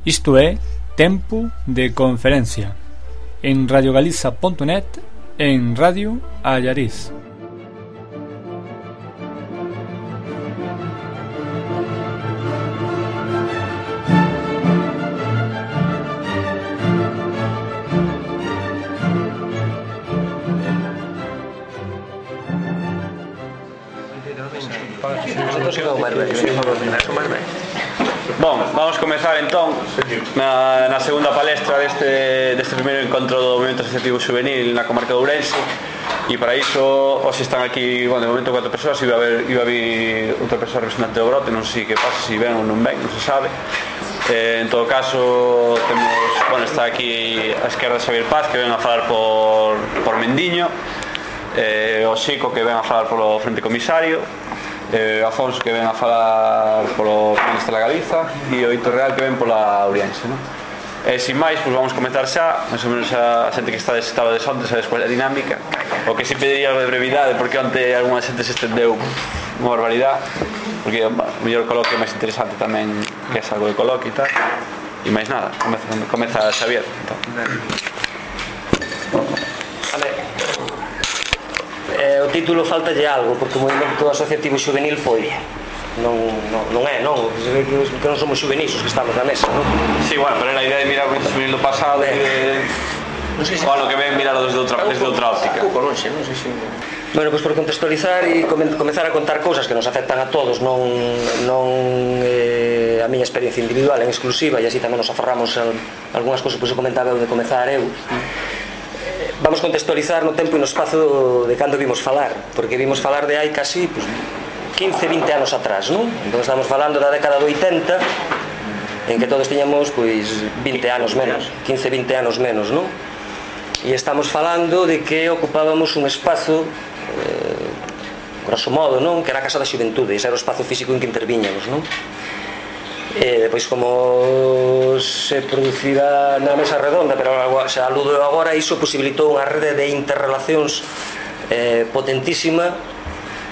Isto é Tempo de Conferencia en radiogaliza.net e en Radio Allariz. Bom, vamos comezar entón na segunda palestra deste primeiro encontro do Movimento Asociativo Juvenil na comarca de Ourense. E para iso, hoxe están aquí, bueno, de momento 4 persoas. Iba a vir outra persoa representante do brote, non sei que pasa, se ven ou non ven, non se sabe. En todo caso, temos, bueno, está aquí a esquerda Xavier Paz, que ven a falar por Mendiño, o Xico, que ven a falar polo Frente Comisario, Afonso, que ven a falar polo Ministro da Galiza, e o Hito Real, que ven pola Ourense, non? E sin máis, pois vamos comenzar xa. Mais ou menos a xente que estaba de onte sabes cual é a dinámica. O que si pediría de brevidade, porque onte algunha xente se estendeu unha barbaridade, porque o mellor coloquio máis interesante tamén, que é algo de coloquio e tal. E máis nada, comeza Xavier entón. O título faltalle algo, porque o movimento asociativo juvenil foi non é, que non somos juvenis os que estamos na mesa, non? Sí, bueno, pero era a idea de mirar o movimento juvenil do pasado o ano que ven mirar desde outra óptica. Bueno, pois por contextualizar e comezar a contar cousas que nos afectan a todos, non a miña experiencia individual en exclusiva, e así tamén nos aforramos algunhas cousas, pois eu comentaba eu de comezar eu. Vamos contextualizar no tempo e no espazo de cando vimos falar, porque vimos falar de hai casi 15-20 anos atrás, non? Entón estamos falando da década do 80, en que todos tiñamos 20 anos menos, 15-20 anos menos, non? E estamos falando de que ocupábamos un espazo, grosso modo, non? Que era a Casa da Xuventude, ese era o espazo físico en que interviñamos, non? Depois, como se producirá na mesa redonda, pero xa aludo agora, iso posibilitou unha rede de interrelacións potentísima,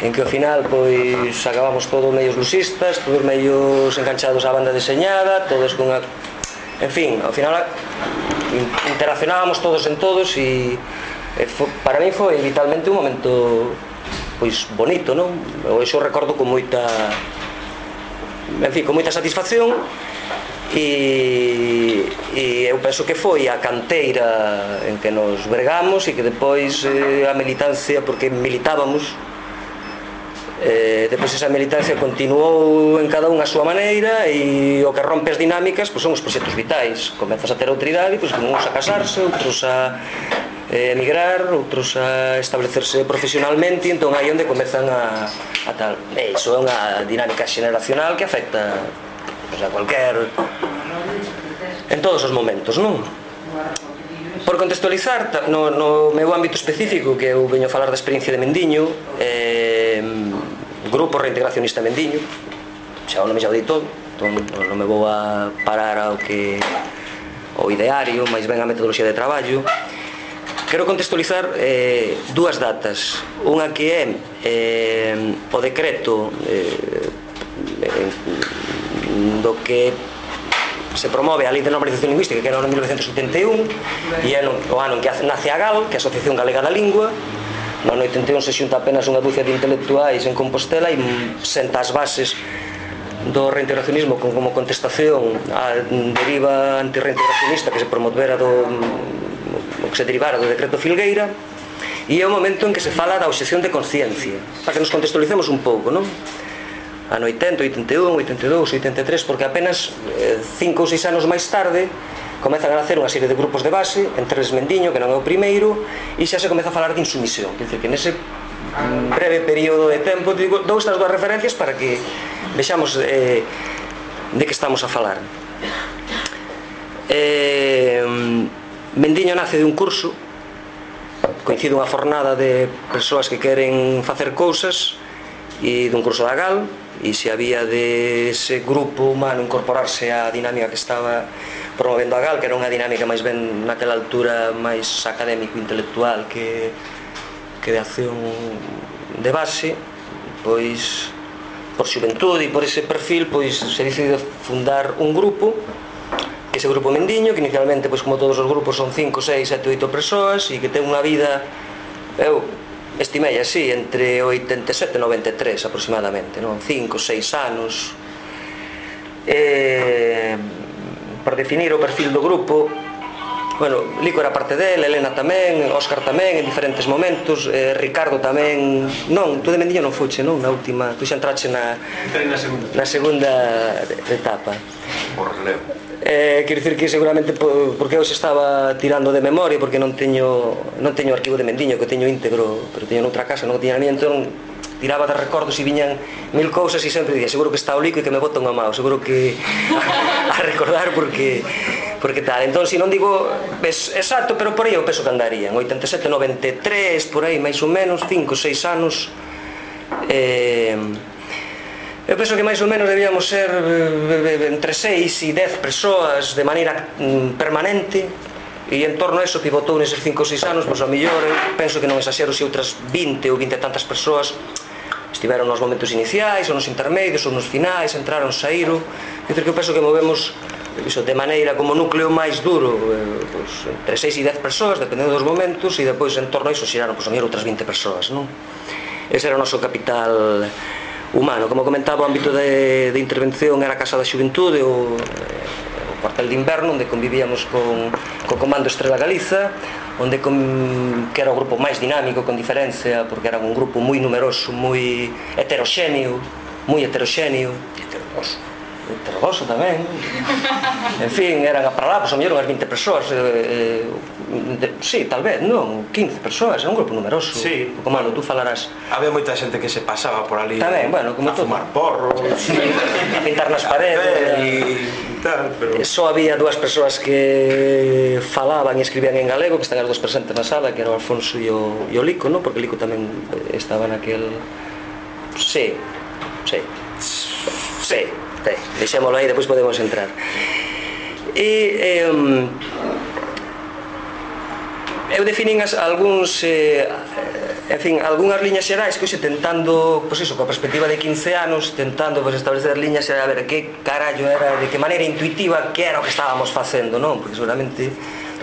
en que ao final pois acabamos todos medios lusistas, todos medios enganchados á banda deseñada, todos con a... En fin, ao final interaccionábamos todos en todos, e para mí foi vitalmente un momento pois bonito, non? Eu iso recordo con moita satisfacción, e eu penso que foi a canteira en que nos bregamos, e que depois a militancia, porque militábamos, depois esa militancia continuou en cada unha a súa maneira, e o que rompe as dinámicas pois son os proxectos vitais. Comezas a ter outra idade, pois uns a casarse, outros a emigrar, outros a establecerse profesionalmente, e entón aí onde comezan a tal. Iso é unha dinámica xeneracional que afecta a cualquier, en todos os momentos, non? Por contextualizar, no meu ámbito específico, que eu veño a falar da experiencia de Mendiño, Grupo Reintegracionista Mendiño, xa o nome xa o dei todo, entón non me vou a parar ao ideario, máis ben a metodoloxía de traballo. Quero contextualizar dúas datas. Unha que é o decreto do que se promove a Lei de Normalización Lingüística, que era no 1981, e é o ano en que nace a GAL, que é a Asociación Galega da Lingua. No 81 se xunta apenas unha dúcia de intelectuais en Compostela e senta as bases do reintegracionismo como contestación á deriva antirreintegracionista que se promovera o que se derivara do decreto Filgueira, e é o momento en que se fala da obxección de conciencia, para que nos contextualicemos un pouco, non? Ano 80, 81, 82, 83, porque apenas 5 ou 6 anos máis tarde comezan a nacer unha serie de grupos de base, entre eles Mendiño, que non é o primeiro, e xa se comeza a falar de insumisión. Quer dizer, que nese breve período de tempo dou estas dúas referencias para que vexamos de que estamos a falar. Mendiño nace de un curso, coincide unha fornada de persoas que queren facer cousas, e dun curso da GAL, e se había de ese grupo humano incorporarse á dinámica que estaba promovendo a GAL, que era unha dinámica máis ben naquela altura máis académico-intelectual que de acción de base, pois por xuventude e por ese perfil, pois se decide fundar un grupo ese grupo Mendiño, que inicialmente, pois como todos os grupos, son 5, 6, 7, 8 persoas e que ten unha vida, eu estimei así, entre 87 e 93 aproximadamente, non? 5, 6 anos. Por definir o perfil do grupo, bueno, Lico era parte dele, Elena tamén, Óscar tamén, en diferentes momentos, Ricardo tamén. Non, tú de Mendiño non fuche, non? Na última, tú xa entrache na segunda etapa. Por relevo. Quero dicir que seguramente porque eu se estaba tirando de memoria, porque non teño arquivo de Mendiño, que teño íntegro, pero teño noutra casa, non tiña na miña, entón tiraba de recordos e viñan 1000 cousas e sempre dicía, seguro que está o Lico e que me bota unha mao, seguro que a recordar porque tal. Entón, se non digo exacto, pero por aí eu penso que andarían 87, 93, por aí máis ou menos, 5, 6 anos. Eu penso que máis ou menos debíamos ser entre 6 e 10 persoas de maneira permanente, e en torno a eso pivotou neses 5 ou 6 anos, pois ao mellor penso que non exaxero se outras 20 ou 20 e tantas persoas estiveron nos momentos iniciais, ou nos intermedios, ou nos finais, entraron, saíron. É dicir, que eu penso que movemos iso, de maneira como núcleo máis duro, pois, entre 6 e 10 persoas, dependendo dos momentos, e depois en torno a iso xeraron, pois, ao mellor outras 20 persoas, non? Ese era o noso capital humano. Como comentaba, o ámbito de intervención era a Casa da Xuventude, o cuartel de inverno, onde convivíamos co Comando Estrela Galiza, onde que era o grupo máis dinámico, con diferencia, porque era un grupo moi numeroso, moi heteroxéneo, heterodoso tamén, en fin, eran para lá, pois a mellor unhas 20 persoas, sí, tal vez, non, 15 persoas, era un grupo numeroso. Sí. O Comando, tú falarás. Había moita xente que se pasaba por ali Tamén, bueno, como a fumar porro, a pintar nas paredes e tal, pero só había 2 persoas que falaban e escribían en galego, que están as 2 presentes na sala, que era o Alfonso e o Lico, non? Porque Lico tamén estaba naquel... Sí, deixémolo aí, depois podemos entrar. E eu definín algúns algunhas liñas xerais que hoxe tentando, pois iso, coa perspectiva de 15 anos, tentando establecer liñas xerais, a ver que carallo era, de que maneira intuitiva que era o que estábamos facendo, non? Porque seguramente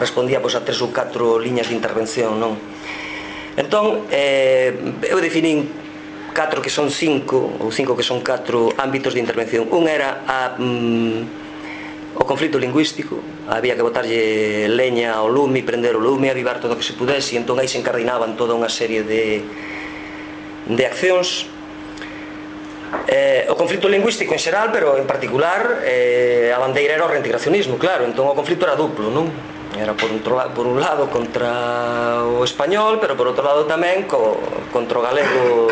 respondía pois a 3 ou 4 liñas de intervención, non? Entón, eu definín 4 que son 5 ou 5 que son 4 ámbitos de intervención. Un era o conflito lingüístico, había que botarlle leña ao lume, prender o lume, avivar todo o que se pudese, e entón aí se encardinaban toda unha serie de accións. O conflito lingüístico en xeral, pero en particular a bandeira era o reintegracionismo, claro, entón o conflito era duplo, non? Era por un lado contra o español, pero por outro lado tamén contra o galego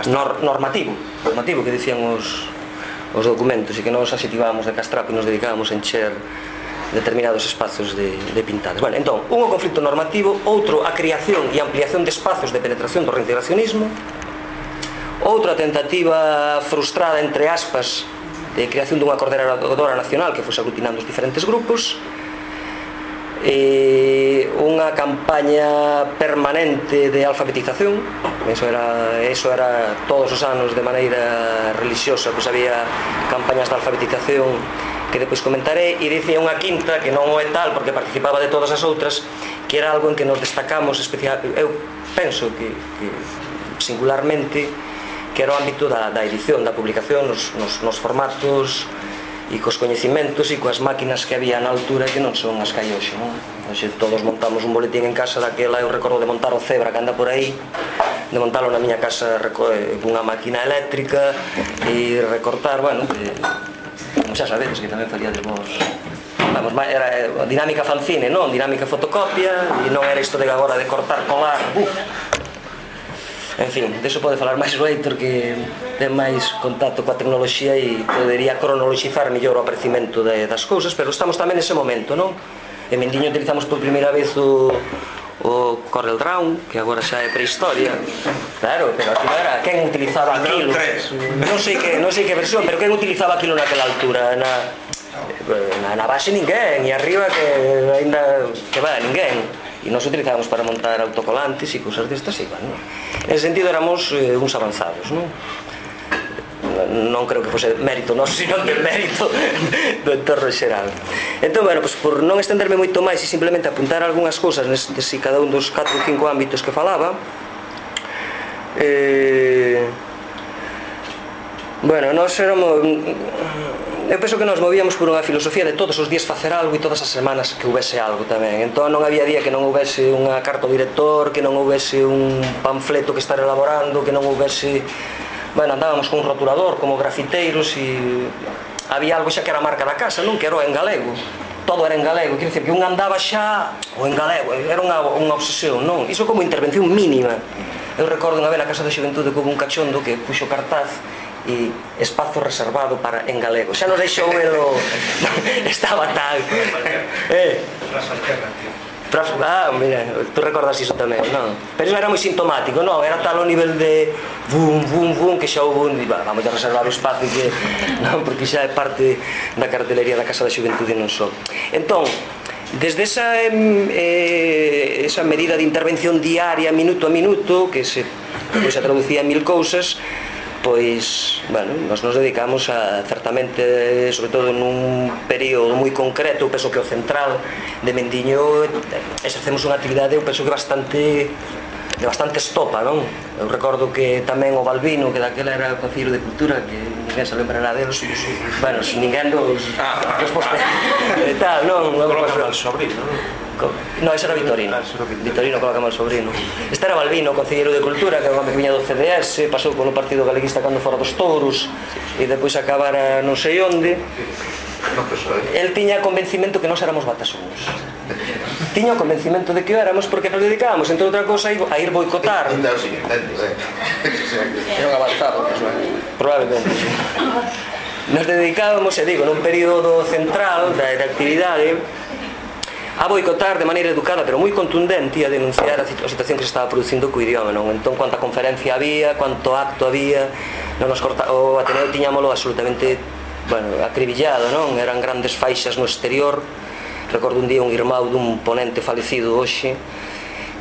normativo que dicían os documentos, e que nos asitivábamos de castrapo e nos dedicábamos a encher determinados espazos de pintadas. Bueno, entón, un o conflito normativo, outro a creación e ampliación de espazos de penetración do reintegracionismo, outra tentativa frustrada, entre aspas, de creación dunha coordenadora nacional que fose aglutinando os diferentes grupos, e unha campaña permanente de alfabetización. Eso era todos os anos de maneira religiosa, pois había campañas de alfabetización que depois comentarei, e dicía unha quinta que non o é tal porque participaba de todas as outras, que era algo en que nos destacamos especial, eu penso que singularmente, que era o ámbito da edición, da publicación nos formatos e cos coñecimentos e coas máquinas que había na altura, que non son as que hai hoxe, non? Hoxe todos montamos un boletín en casa daquela. Eu recordo de montar o Zebra que anda por aí, de montalo na miña casa cunha máquina eléctrica e recortar, bueno, como xa sabedes que tamén faría de vos, vamos, era dinámica fanzine, non? Dinámica fotocopia, e non era isto de agora de cortar, colar, En fin, deso pode falar máis o Heitor, que ten máis contacto coa tecnoloxía e podería cronoloxizar mellor o aparecimento das cousas, pero estamos tamén nese momento, non? En Mendiño utilizamos por primeira vez o Corel Draw, que agora xa é prehistoria. Claro, pero aquilo era, quen utilizaba aquilo? Non sei que versión, pero quen utilizaba aquilo naquela altura? Na base ninguén, e arriba que ainda que va, ninguén. E nos utilizábamos para montar autocolantes e cousas destas, igual, non? En ese sentido éramos uns avanzados, non? non creo que fose mérito noso, sino de mérito do entorno xeral. Entón, bueno, pues, por non estenderme moito máis e simplemente apuntar algunhas cousas nestes e cada un dos 4 ou 5 ámbitos que falaba, bueno, nós éramos... Eu penso que nos movíamos por unha filosofía de todos os días facer algo e todas as semanas que houvese algo tamén. Entón non había día que non houvese unha carta ao director, que non houvese un panfleto que estar elaborando, que non houvese... Bueno, andábamos con un roturador como grafiteiros e había algo xa que era a marca da casa, non? Que era en galego. Todo era en galego, quero dicir que un andaba xa o en galego, era unha obsesión, non? Iso como intervención mínima. Eu recordo unha vez na Casa da Xuventude que houve un cachondo que puxo cartaz e espazo reservado para en galego. Xa non deixou elo... Estaba tal... mira, tú recordas iso tamén, non? Pero iso era moi sintomático, non? Era tal o nivel de bum, bum, bum, que xa houve un... Vamos a reservar o espazo que... Non, porque xa é parte da cartelería da Casa da Xuventude non só. Entón, desde esa medida de intervención diaria, minuto a minuto, que se traducía en 1000 cousas, pois, bueno, nos dedicamos a, certamente, sobre todo nun período moi concreto, eu penso que o central de Mendiño, exercemos unha actividade, eu penso que bastante estopa, non? Eu recordo que tamén o Balbino, que daquela era o Concello de Cultura, que ninguén se lembrará deles, bueno, se ninguén dos postes e tal, non? Colocamos al sobrino, non? No, ese era Vitorino. Vitorino colocamos al sobrino. Este era Balbino, concelleiro de Cultura, que era un home que viña do CDS, pasou polo Partido Galeguista cando fora dos touros e depois acabara non sei onde. El tiña convencimento que nós éramos batasunos. Tiña o convencimento de que o éramos porque nos dedicábamos, entre outra cosa, a ir boicotar. Era un avanzado, probablemente. Nos dedicábamos, e digo, nun período central da actividade, a boicotar de maneira educada pero moi contundente e a denunciar a situación que se estaba producindo co idioma, non? Entón, cuanta conferencia había, cuanto acto había, o Ateneo tiñámolo absolutamente, bueno, acribillado, non? Eran grandes faixas no exterior. Recordo un día un irmão dun ponente falecido hoxe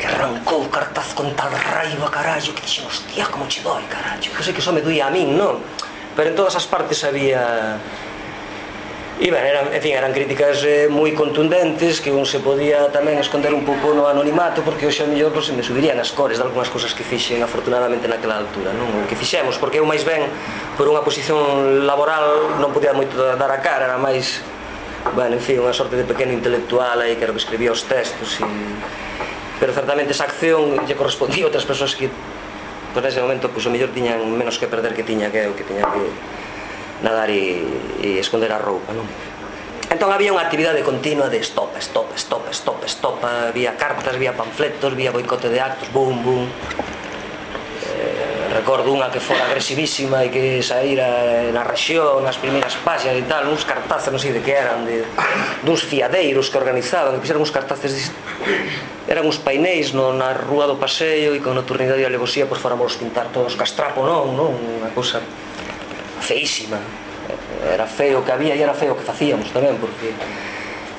que arrancou o cartaz con tal raiva, carallo, que dixen, hostia, como che doi, carallo, que sei que só me doía a min, non? Pero en todas as partes había... E, ben, eran críticas moi contundentes que un se podía tamén esconder un pouco no anonimato, porque hoxe a mellor se me subirían as cores de algunhas cousas que fixen afortunadamente naquela altura, non? O que fixemos, porque eu máis ben por unha posición laboral non podía moito dar a cara, era máis, bueno, en fin, unha sorte de pequeno intelectual aí que era o que escribía os textos pero certamente esa acción lle correspondía a outras persoas que por ese momento, pois, o mellor tiñan menos que perder que tiña que eu, que tiña que nadar e esconder a roupa, non? Entón había unha actividade continua de stop, había cartas, había panfletos, había boicote de actos, boom, boom. Recordo unha que fora agresivísima e que saíra na rexión, nas primeiras páxinas e tal, uns cartazes, non sei de que eran, duns fiadeiros que organizaban, que fixeran uns cartazes, eran uns painéis na rúa do Paseo e con nocturnidade e alevosía, pois fóramos pintar todos castrapo, non? Unha cousa feísima. Era feo o que había e era feo o que facíamos tamén, porque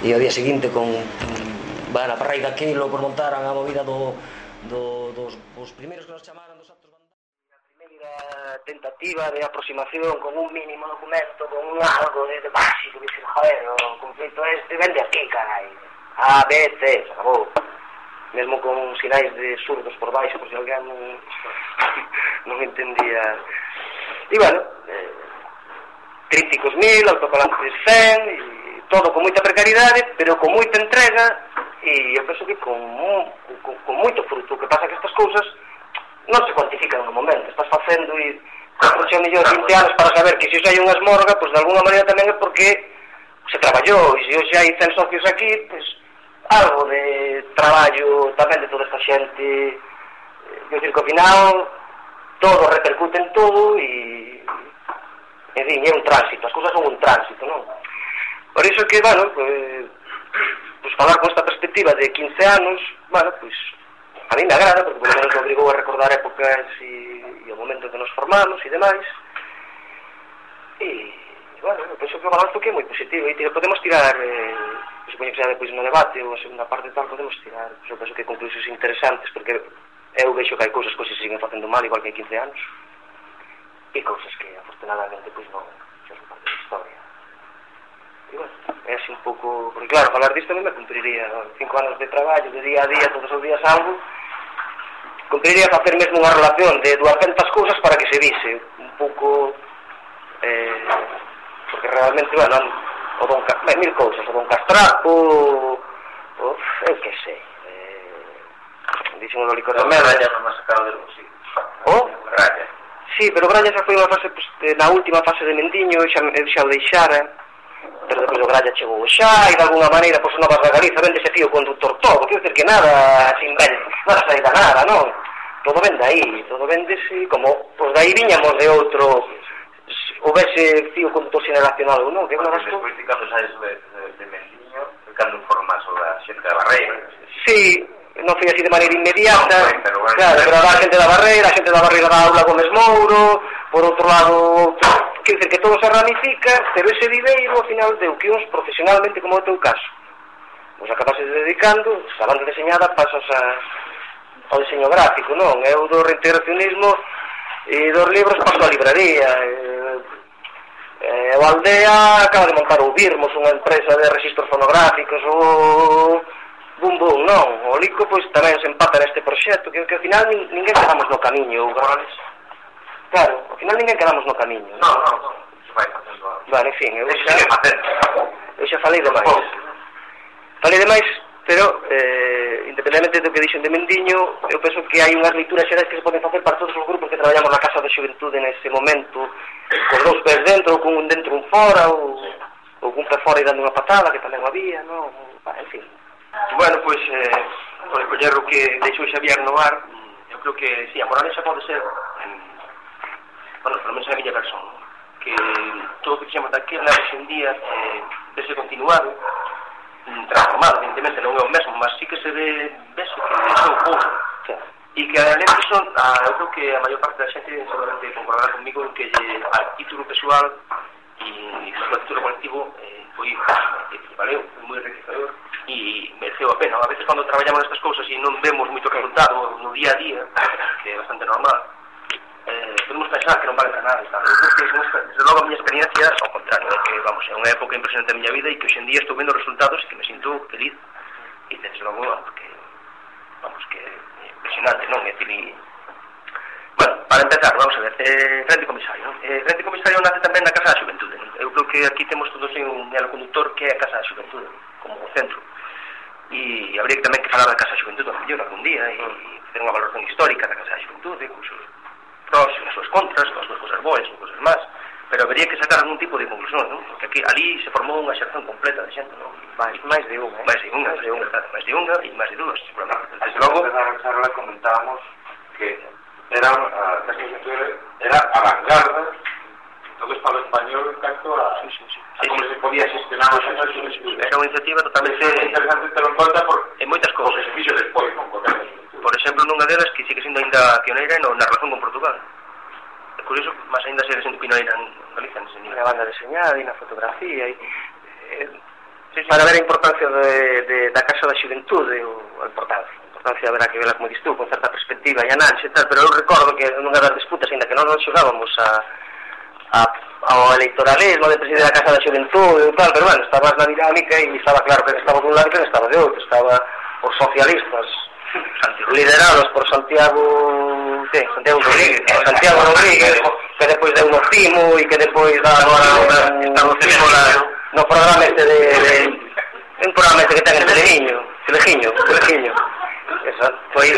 e ao día seguinte con a parrei daquilo por montaran a movida dos primeiros que nos chamaran dos actos vandales, a primeira tentativa de aproximación con un mínimo documento, con un algo de básico, que dicir, joder, o conflito este vende aquí, carai, A, B, C, se acabou, mesmo con sinais de surdos por baixo, por se alguén non entendía. E, bueno, críticos 1000, autocolantes 100, e todo con moita precariedade, pero con moita entrega, e eu penso que con moito fruto. O que pasa que estas cousas non se cuantifican no momento, estás facendo e aproxima mellor 20 anos para saber que se hai unha esmorga, pois de alguna maneira tamén é porque se traballou, e se hoxe hai 100 socios aquí, pois algo de traballo tamén de toda esta xente. Eu digo que ao final todo repercute en todo e en fin, é un tránsito, as cousas son un tránsito, non? Por iso que, bueno, pues falar con esta perspectiva de 15 anos, bueno, pues a mí me agrada, porque por lo menos me obrigou a recordar épocas e o momento en que nos formamos e demais. E, bueno, eu penso que o balanzo que é moi positivo e podemos tirar, supoño que xa depois no debate ou a segunda parte tal, podemos tirar, eu penso que conclusións interesantes, porque eu vexo que hai cousas que se siguen facendo mal igual que hai 15 anos. e cousas que afortunadamente pois non son parte da historia. E bueno, é así un pouco, porque claro, falar disto a mí me cumpriría 5 anos de traballo, de día a día, todos os días algo, cumpriría facer mesmo unha relación de 200 cousas para que se vise un pouco, porque realmente, bueno, o don, mil cousas, o don Castrapo, eu que sei, dixen o do licor de merda. Brañas non me sacado del bolsillo. Brañas. Sí, pero Brañas xa foi unha fase, pues, na última fase de Mendiño, eu xa o deixara, pero depois o Gralla chegou xa, e de alguna maneira, pois, Novas da Galiza vende ese fío conductor todo, quero dizer que nada se inventa, nada sai da nada, non? Todo vende aí, todo vendese, como, pois, daí viñamos de outro, houvese fío conductor xeneracional ou non, que Bueno, despois de cando saes de Mendiño, cando informas sobre a xente da Barreira. Sí, non foi así de maneira inmediata, non, pero bueno, claro, pero a xente da Barreira da Aula Gómez Mouro, por outro lado, quer dizer que todo se ramifica, pero ese viveiro, ao final, deu que uns profesionalmente, como é o teu caso, vos acabases dedicando, sabando deseñada, pasas ao diseño gráfico, non? Eu do reintegracionismo e dos libros paso á libraría, o Aldea acaba de montar o Birmos, unha empresa de registros fonográficos, o Bum Bum, non? O Lico, pois, tamén se empata neste proxecto, que ao final ninguén quedamos no camiño, claro, ao final ninguén quedamos no camiño. Non, se vai facendo algo. Vale, en fin, eu xa falei demais, pero independentemente do que dixen de Mendiño, eu penso que hai unhas leituras xerais que se poden facer para todos os grupos que traballamos na Casa da Xuventude nese momento, con 2 pés dentro, ou con un dentro un fora, ou con un pé fora e dando unha patada, que tamén había, non? En fin. Bueno, pois, por recoller o que deixou Xavier no ar, eu creo que, sí, a moralexa pode ser, bueno, pelo menos a miña persona, que todo o que fixemos daquela hoxe en día vese continuado, transformado, evidentemente non é o mesmo, mas sí que se vese que deixou pouco, e que além disso, eu creo que a maior parte da xente seguramente concordará comigo que a título pessoal e a título colectivo foi valeu, foi moi enriquecedor e mereceu a pena. A veces cando traballamos nestas cousas e non vemos moito resultado no día a día, que é bastante normal, podemos pensar que non vale para nada. Eu creo que, desde logo, a miña experiencia ao contrario, é que, vamos, é unha época impresionante da miña vida e que hoxe en día estou vendo resultados e que me sinto feliz e desde logo, que, vamos, que é impresionante, non? É dicir, bueno, para empezar, vamos a ver, Frente Comisario, non? Frente Comisario nace tamén na Casa da Xuventude, non? Eu creo que aquí temos todos un hilo conductor que é a Casa da Xuventude, como o centro, e habría que tamén que falar da Casa da Xuventude ao mellor algún día e facer unha valoración histórica da Casa da Xuventude, con seus pros e as súas contras, con as súas cosas boas e cosas más, pero habría que sacar algún tipo de conclusión, non? Porque aquí, ali se formou unha xeración completa de xente, non? máis de unha, máis de unha e máis de dúas, seguramente. Desde logo, na charla comentábamos que era a vanguarda todo o Estado español en canto a como se podía gestionar os asuntos. Era unha iniciativa totalmente interesante ter en conta en moitas cousas. Que se fixo despois, non? Por exemplo, nunha delas que sigue sendo ainda pioneira na relación con Portugal. É curioso, mas ainda segue sendo pioneira en Galicia nese nivel. Na banda deseñada e na fotografía para ver a importancia da Casa da Xuventude, a importancia haberá que vela, como dis tú, con certa perspectiva e análise e tal, pero eu recordo que nunha das disputas, ainda que non nos xogábamos ao electoralismo de presidir a Casa da Xuventude e tal, pero bueno, estabas na dinámica e estaba claro que estaba dun lado e que estaba de outro, estaba os socialistas liderados por Santiago Rodríguez, que depois deu no Cimo e que depois dá agora no programa este un programa este que ten en Telegiño. Esa foi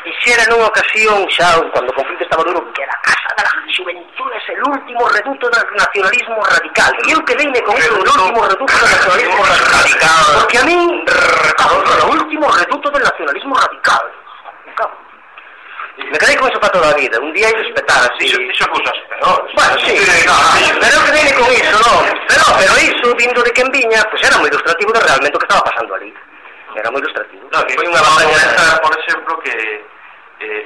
Quixera nunha ocasión xa, cando o conflito estaba duro, que a Casa da Xuventude é o último reduto do nacionalismo radical. E eu quedeime con eso, o último reduto do nacionalismo radical. Porque a min, o último reduto do nacionalismo radical. Me quedei con eso para toda a vida. Un día hai de respetar así. Iso cousas peores. Bueno, sí, pero eu quedeime con iso, non? Pero iso, vindo de quen viña, pues era moi ilustrativo de realmente o que estaba pasando ali. Era moi ilustrativo. Foi unha batalla, por exemplo, que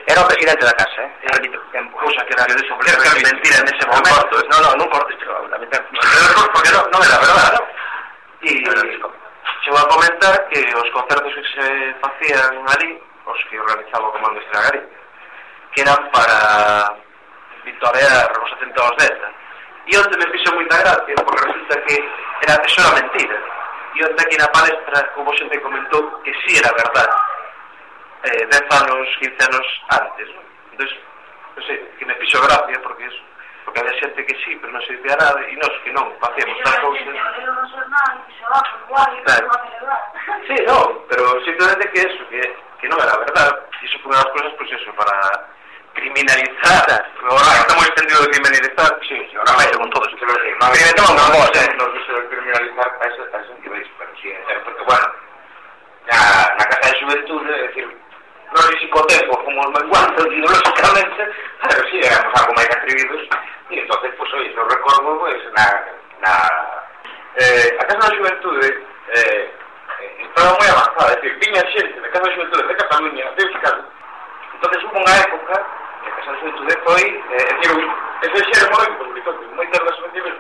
era o presidente da casa, cousa que era de mentira nese momento. Non cortes, pero porque non era verdade. E chegou a comentar que os concertos que se facían ali, os que organizaba o Comando Estragari, que eran para vitorear os atentados desta. E onde me fixo moita gracia, porque resulta que eso era mentira. E onde aquí na palestra houve xente que comentou que sí era verdade. 10 anos, 15 anos antes, non? Entón, non sei, que me fixo gracia, porque había xente que sí, pero non se dicía nada, e nós que non facíamos tal cousa. Sí, non, pero simplemente que que non era verdade. E iso foi unha das cousas, pois eso, para criminalizar. Ahora está moi extendido de criminalizar, sí, ahora vai con todo eso. Experimentamos unha cosa, nos gusta de criminalizar a ese nivel, pero sí, porque, bueno, na Casa de Xuventude, é dicir, non sei se co tempo fomos menguando ideolóxicamente, pero sí, éramos algo máis atrevidos, e entonces, pois, oye, non recordo, pois, a Casa da Xuventude estaba moi avanzada, é dicir, viña xente da Casa da Xuventude de Cataluña, de Euskadi, entonces hubo unha época que a Casa da Xuventude foi, é dicir, ese xermo moitas das asociacións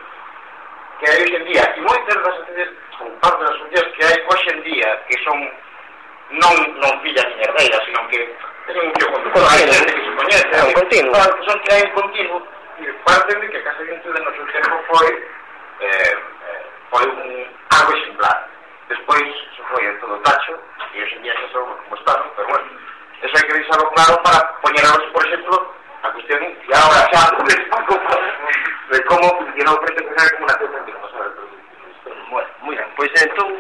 que hai hoxe en día, e moitas das asociacións, ou parte das asociacións que hai hoxe en día, que son non fillas ni herdeiras, sino que é un fio conductor, hai xente que se coñece, son que hai un continuo, e parten de que a Casa da Xuventude no seu tempo foi algo exemplar. Despois, eso foi en todo tacho, e hoxe en día xa son como están, pero bueno, eso hai que deixarlo claro para poñernos, por exemplo, a cuestión, e agora xa de como funciona o Frente Comunitario como nación frente a pasar. Bueno, moi ben, pois entón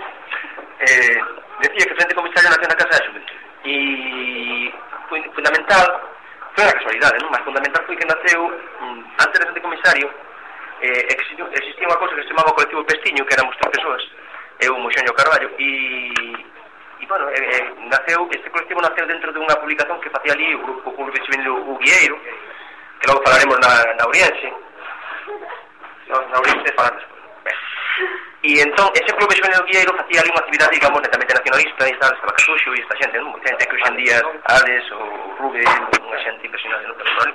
decía que o Frente Comunitario naceu na Casa da Xuventude e foi fundamental, foi unha casualidade, non? Mas fundamental foi que naceu antes do Frente Comunitario. Existía unha cousa que se chamaba o colectivo Pestiño, que éramos 3 persoas, eu, Moxón e o Carballo, e bueno, este colectivo naceu dentro de unha publicación que facía ali o grupo juvenil O Guieiro, que logo falaremos na Ourense. Na Ourense falar despois. E entón, ese clube juvenil O Guieiro facía ali unha actividade, digamos, netamente nacionalista, e tal, estaba Casuxo e esta xente, non? Moita xente que hoxe en día, Ades ou Rubén, unha xente impresionante, non? Pero,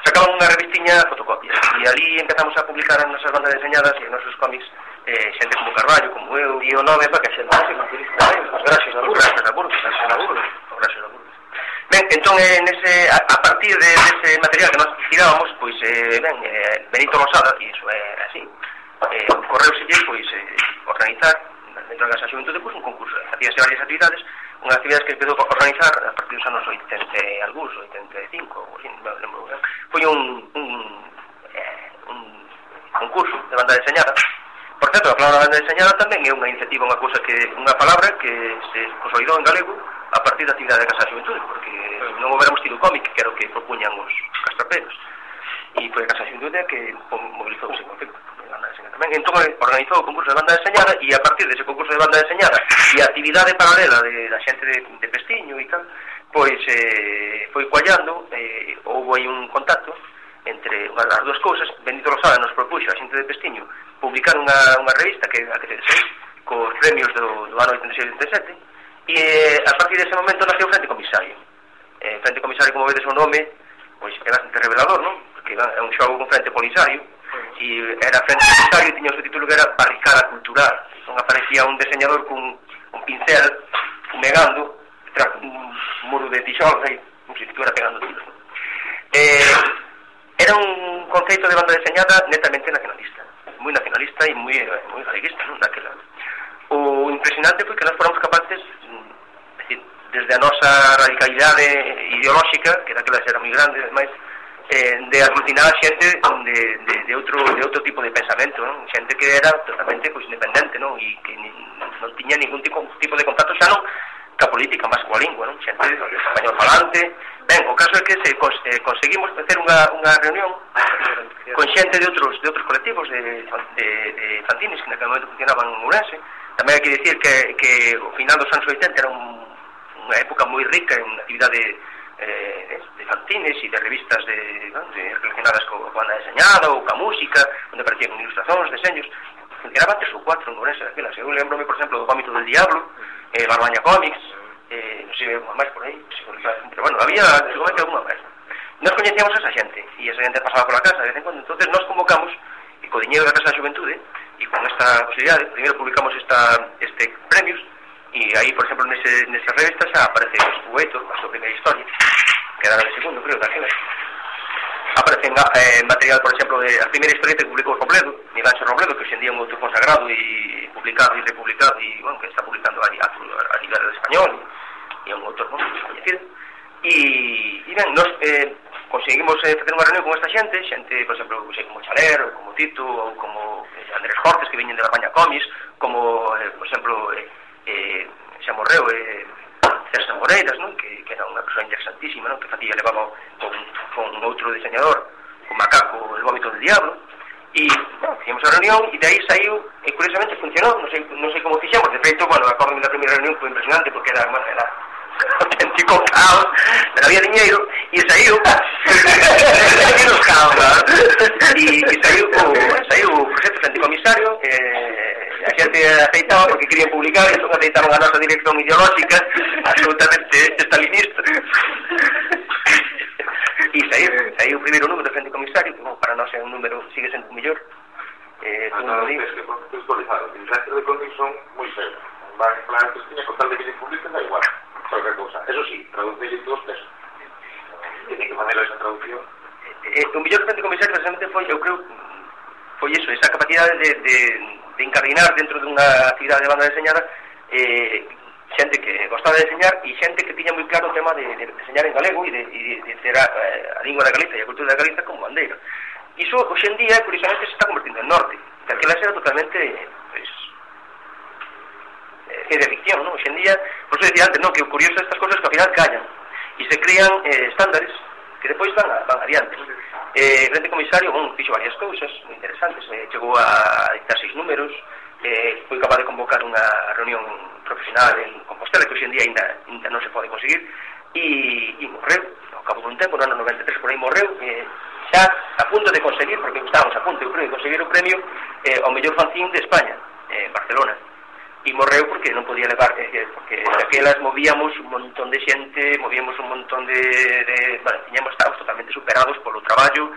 sacaban unha revistiña fotocopias e ali empezamos a publicar as nosas bandas deseñadas e os nosos cómics, xente como Carballo, como eu, e o nome para que xente os graxes da Burgos. Ben, entón, a partir dese material que nós tirábamos, pois, Benito Rosada, e iso é así, correuselle, pois, organizar dentro da Casa da Xuventude, pois, un concurso, facíase varias actividades, unhas actividades que empezou a organizar a partir dos anos 80 e algúns, 85, ou así, non lembro, foi un concurso de banda deseñada. Por certo, a palabra banda deseñada tamén é unha iniciativa, unha palabra que se consolidou en galego a partir da actividade da Casa da Xuventude, porque non houbéramos tido cómic, que era o que propuñan os castraperos, e foi a Casa da Xuventude que mobilizou ese concepto. Entón organizou o concurso de banda deseñada e a partir dese concurso de banda deseñada e a actividade paralela da xente de Pestiño e tal, pois foi coallando, houve aí un contacto entre as dúas cousas. Benito Rosada nos propuxo a xente de Pestiño publicar unha revista que te desei cos premios do ano 86-87 e a partir dese momento naceu o Frente Comisario. Frente Comisario, como vedes o nome, pois é bastante revelador, non? Porque é un xogo con Frente Polisario e era Frente Comisario e tiña o seu título que era Barricada Cultural. Non aparecía un deseñador con un pincel fumegando tras un muro de tijolos aí, como se estuviera pegando tiros. Era un conceito de banda deseñada netamente nacionalista, moi nacionalista e moi galeguista, non? Daquela. O impresionante foi que nós fóramos capaces, desde a nosa radicalidade ideolóxica, que daquela era moi grande, ademais, de aglutinar a xente de outro tipo de pensamento, non? Xente que era totalmente independente, non? E que non tiña ningún tipo de contacto xa non ca política, máis coa lingua, non? Xente español falante. Ben, o caso é que conseguimos facer unha reunión con xente de outros colectivos de fanzines que naquele momento funcionaban en Ourense. Tamén hai que dicir que o final dos anos 80 era unha época moi rica en actividade de fanzines e de revistas relacionadas con banda deseñada ou ca música, onde aparecían ilustracións, deseños. Funcionaban 3 ou 4 en Ourense daquelas. Eu lembro-me, por exemplo, do Vómito del Diablo, Barbaña Comics, non sei, máis por aí, pero bueno, había seguramente alguna máis. Nós coñecíamos a esa xente e esa xente pasaba pola casa de vez en cuando. Entonces nós convocamos, e co diñeiro da Casa da Xuventude e con esta posibilidade, primeiro publicamos este premios e aí, por exemplo, nesa revista xa aparece o Eto, a súa primeira historia, que era de segundo, creo, daquela. aparecen material, por exemplo, a primeira historieta que publicou Robledo, Miguel Ángel Robledo, que hoxe en día é un autor consagrado e publicado e republicado e, bueno, que está publicando a nivel español e é un autor moi coñecido. E ben, nos conseguimos facer unha reunión con esta xente, por exemplo, como Chaler, ou como Tito, ou como Andrés Hortes, que veñen de la Baña Comis, como, por exemplo, xa morreu César Moreiras, non? Que era unha persoa interesantísima, non? Que facía, levaba con outro diseñador, con Macaco, El vómito del diablo, e, bueno, fixemos a reunión e de aí saiu, e curiosamente funcionou, non sei como fixemos, de feito, bueno, acordo da primeira reunión foi impresionante porque era auténtico caos, pero había diñeiro e saiu menos caos, e saiu o proxecto frente comisario, a xente aceitaba porque querían publicar e entón aceitaron a nosa dirección ideolóxica absolutamente stalinista e saiu o primeiro número de frente comisario, que, bueno, para nós é un número, sigue sendo o mellor. Nada, es que por textualizado, el resto de cómics son muy feos. Van en plan, pues tiene con tal de que se publiquen, da igual, cualquier cosa. Eso sí, traducirle 2 pesos. Tiene que ponerle esa traducción. O mellor frente comisario precisamente foi, eu creo, foi iso, esa capacidade de encardinar dentro dunha actividade de banda deseñada xente que gostaba de deseñar e xente que tiña moi claro o tema de deseñar en galego e de ter a lingua da Galiza e a cultura da Galiza como bandeira. Iso, hoxe en día, curiosamente, se está convertindo en norte. Aquela era totalmente, pues, ciencia ficción, non? Hoxe en día, por eso decía antes, non? Que o curioso de estas cosas que ao final callan e se crean estándares que depois van adiante. Frente comisario, fixo varias cousas moi interesantes, chegou a dictar 6 números, foi capaz de convocar unha reunión profesional en Compostela, que hoxe en día ainda non se pode conseguir, e morreu, ao cabo dun tempo, no ano 93 por aí morreu, xa a punto de conseguir, porque estábamos a punto de conseguir o premio ao mellor fanzín de España, en Barcelona. E morreu porque non podía levar, porque daquelas movíamos un montón de xente, movíamos un montón estábamos totalmente superados polo traballo,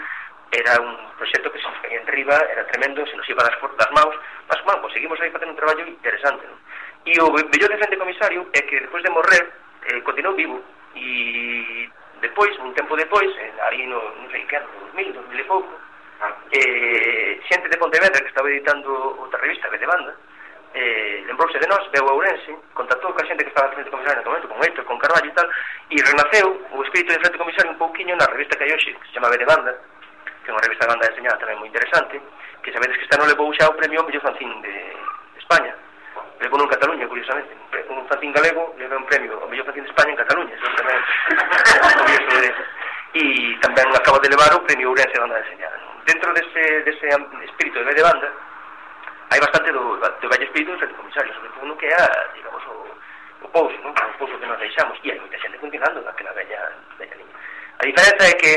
era un proxecto que se nos caía en riba, era tremendo, se nos iba das maus, mas, bueno, conseguimos aí facer un traballo interesante, non? E o mellor de frente comisario é que despois de morrer, continuou vivo, e depois, un tempo depois, ali non sei que ano, 2000 e pouco, xente de Pontevedra que estaba editando outra revista, de Banda, lembrouse de nós, veu a Ourense, contactou ca xente que estaba frente comisario no momento, con Héctor, con Carballo e tal, e renaceu o espírito de frente comisario un pouquiño na revista que hai hoxe, que se chama de Banda, que é unha revista de banda deseñada tamén moi interesante, que sabedes que esta non levou xa o premio ao mellor fanzín de España, levou en Cataluña, curiosamente, un fanzín galego levou un premio ao mellor fanzín de España en Cataluña, eso tamén curioso de... E tamén acaba de levar o premio Ourense de banda deseñada. Dentro dese espírito de banda hai bastante do vello espírito do frente comisario, sobre todo no que é, digamos, o pouso, non? O pouso que nos deixamos, e hai moita xente continuando naquela bella liña. A diferenza é que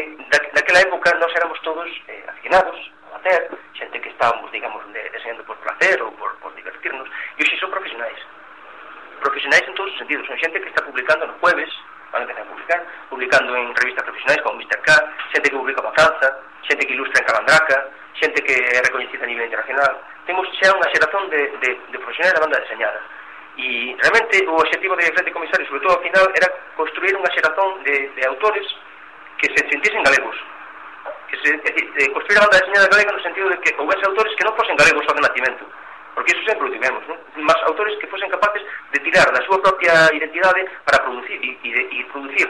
naquela época nós éramos todos aficionados a hacer, xente que estábamos, digamos, deseñando por placer ou por divertirnos, e hoxe son profesionais en todos os sentidos, son xente que está publicando no jueves, van a empezar a publicando en revistas profesionais como Mr. K, xente que publica para Franza, xente que ilustra en Calandraca, xente que é recoñecida a nivel internacional. Temos xa unha xeración de profesionais da banda deseñada. E realmente o objetivo de Frente Comisario, sobre todo ao final, era construir unha xeración de autores que se sentisen galegos. Construir a banda deseñada galega no sentido de que houvese autores que non fosen galegos só de nacimento, porque iso sempre o tivemos, non? Mas autores que fosen capaces de tirar da súa propia identidade para producir e producir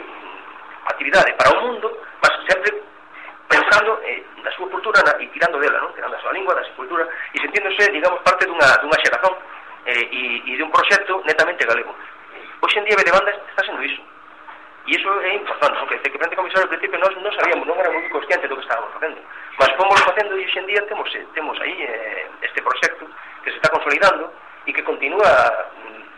actividade para o mundo, mas sempre pensando na súa cultura e tirando dela, non? Tirando a súa lingua, da súa cultura e sentíndose, digamos, parte dunha xerazón e de un proxecto netamente galego. Hoxe en día de banda está sendo iso. E iso é importante, non? Que Frente Comisario ao principio non sabíamos, non éramos moi conscientes do que estábamos facendo, mas fomos facendo e hoxe en día temos aí este proxecto que se está consolidando e que continúa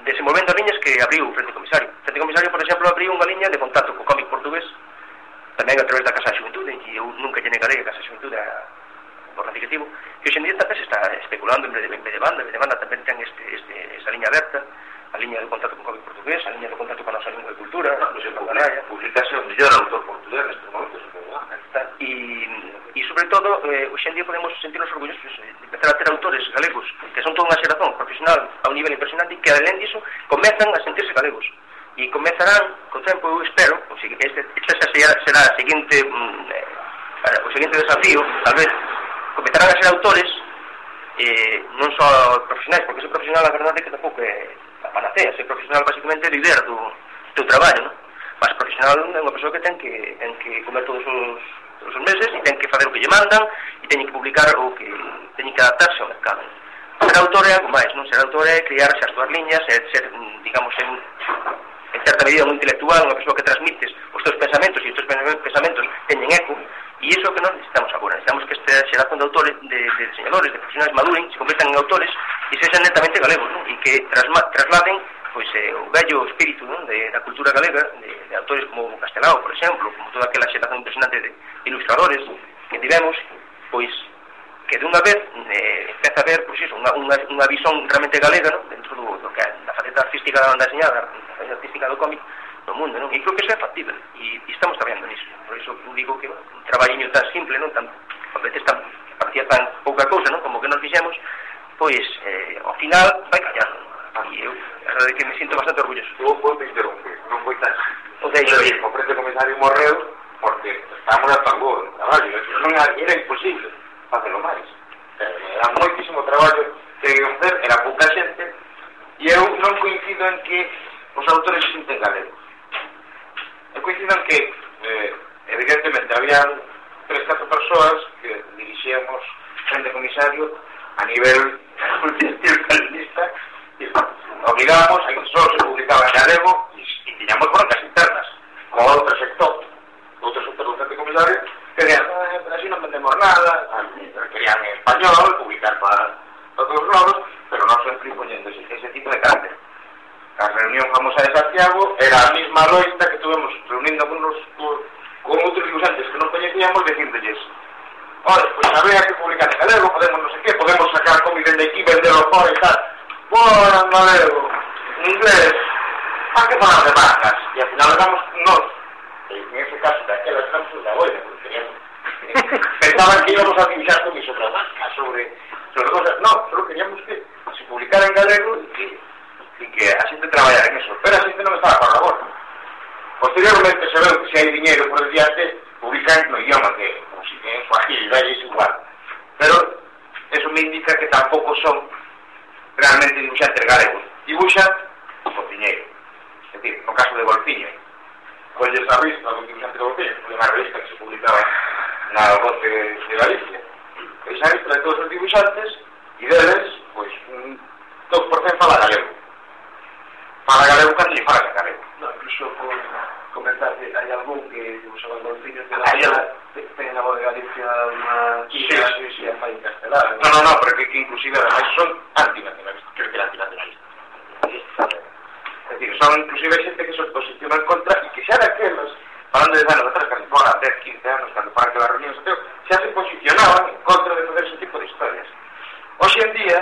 desenvolvendo liñas que abriu Frente Comisario. Frente Comisario, por exemplo, abriu unha liña de contacto co cómic portugués tamén a través da Casa da Xuventude, e eu nunca lle negarei a Casa da Xuventude por ratificativo, que hoxe en día tamén se está especulando en vez de banda tamén ten esa liña aberta, a liña de contacto con cómic portugués, a liña de contacto con a nosa lingua e cultura, publicase o mellor autor portugués neste momento, e sobre todo, hoxe en día podemos sentirnos orgullosos de empezar a ter autores galegos que son toda unha xeración profesional a un nivel impresionante, que alén diso comezan a sentirse galegos e comezarán, co tempo, eu espero, esta será a seguinte o seguinte desafío, tal vez, comezarán a ser autores non só profesionais, porque ser profesional a verdade é que tampouco é a panacea. Ser profesional basicamente é viver do teu traballo, non? Mas profesional é unha persoa que ten que comer todos os meses e ten que fazer o que lle mandan e ten que publicar o que ten que adaptarse ao mercado. Ser autor é algo máis, non? Ser autor é criarse as túas liñas, é ser, digamos, en certa medida un intelectual, unha persoa que transmites os teus pensamentos e os teus pensamentos teñen eco. E iso é o que nós necesitamos agora. Necesitamos que esta xeración de autores, de diseñadores, de profesionais maduren, se convertan en autores e sexan netamente galegos, non? E que trasladen pois, o vello espírito, non? Da cultura galega, de autores como Castelao, por exemplo, como toda aquela xeración impresionante de ilustradores que tivemos, pois que de unha vez empeza a ver pois, iso, unha visón realmente galega, non? Dentro do que é da faceta artística da deseñada, da faceta artística do cómic no mundo, non? E creo que iso é factible e estamos traballando nisso. Por iso digo que un traballiño tan simple, non? A veces parecía tan pouca cousa, non? Como que nos fixemos, pois ao final vai callar. E eu, a verdade é que me sinto bastante orgulloso. Eu vou te interromper, non foi tan o deixo ir. O presidente comisario morreu porque estábamos a tambor no traballo, era imposible facelo máis. Era moitísimo traballo que facer, era pouca xente e eu non coincido en que os autores se sinten galegos. Eu coincido en que evidentemente había 3-4 persoas que dirixíamos frente comisario a nivel multinacionalista e obligábamos a que só se publicaba en galego e tiñamos broncas internas con outro sector do frente comisario que decían, así non vendemos nada, querían en español publicar para todos os lados, pero non sempre imponiendo ese tipo de carácter. A reunión famosa de Santiago era a mesma loita que tuvemos reuníndonos con outros dibujantes que non coñecíamos, dicíndolles, olha, pois habría que publicar en galego, podemos non sei que, podemos sacar cómic de aquí, venderlo fora e tal. Bueno, en galego, en inglés, ¿para que falar de marcas? E ao final éramos nós, en ese caso, daquelas estamos da boina, porque queríamos, pensaban que íbamos a dibujar cómic sobre marcas, sobre cosas, no, solo queríamos que se publicara en galego e que a xente traballara en eso, pero a xente non estaba para a borda. Posteriormente se veu que se hai diñeiro por diante, publican no idioma que, como si en suajil, dalle es igual. Pero eso me indica que tampouco son realmente dibuixantes galegos. Dibuixan por diñeiro. É dicir, no caso de Golfiño, colles a revista do dibuixante de Golfiño, foi unha revista que se publicaba na Voz de Galicia. Pois a revista de todos os dibuixantes e deles, pois, un 2% fala galego. Fala galego cando lle fala galego. No, incluso por comentar que hai algún que dibuixaba en Golfiño que ten na Voz de Galicia unha chica que é fai en castelán. No, pero que inclusive además son antinacionalistas, creo que antinacionalistas. Es decir, son inclusive xente que se posiciona en contra e que xa daquelas, falando de anos atrás, cando foran 10, 15 anos, cando foran aquelas reunións, xa se posicionaban en contra de fazer ese tipo de historias. Hoxe en día,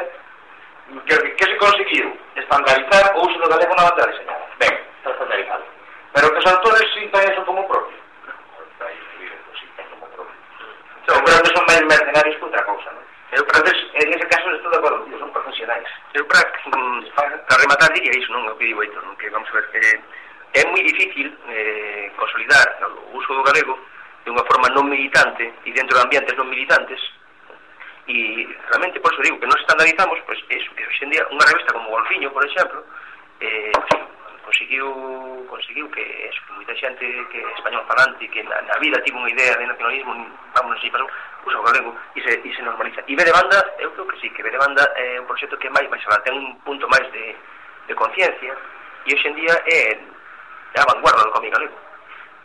que se conseguiu? Estandarizar o uso do galego na banda deseñada. Ben, está estandarizado. Pero que os autores sintan eso como propio. Eu creo que son máis mercenarios que outra cousa, non? Eu creo que en ese caso estou de acordo, tío, son profesionais. Eu para rematar diría iso, non? O que digo, Heitor, non? Que vamos a ver que é moi difícil consolidar o uso do galego de unha forma non militante e dentro de ambientes non militantes. E realmente, por eso digo, que nos estandarizamos, pois, eso, que hoxe en día unha revista como Golfiño, por exemplo, conseguiu que eso, que moita xente que é español falante, que na vida tivo unha idea de nacionalismo, vámonos así, pasou, usa o galego e se normaliza. E ve de banda, eu creo que sí, que ve de banda é un proxecto que máis alá, ten un punto máis de conciencia, e hoxe en día é a vanguarda do cómic galego.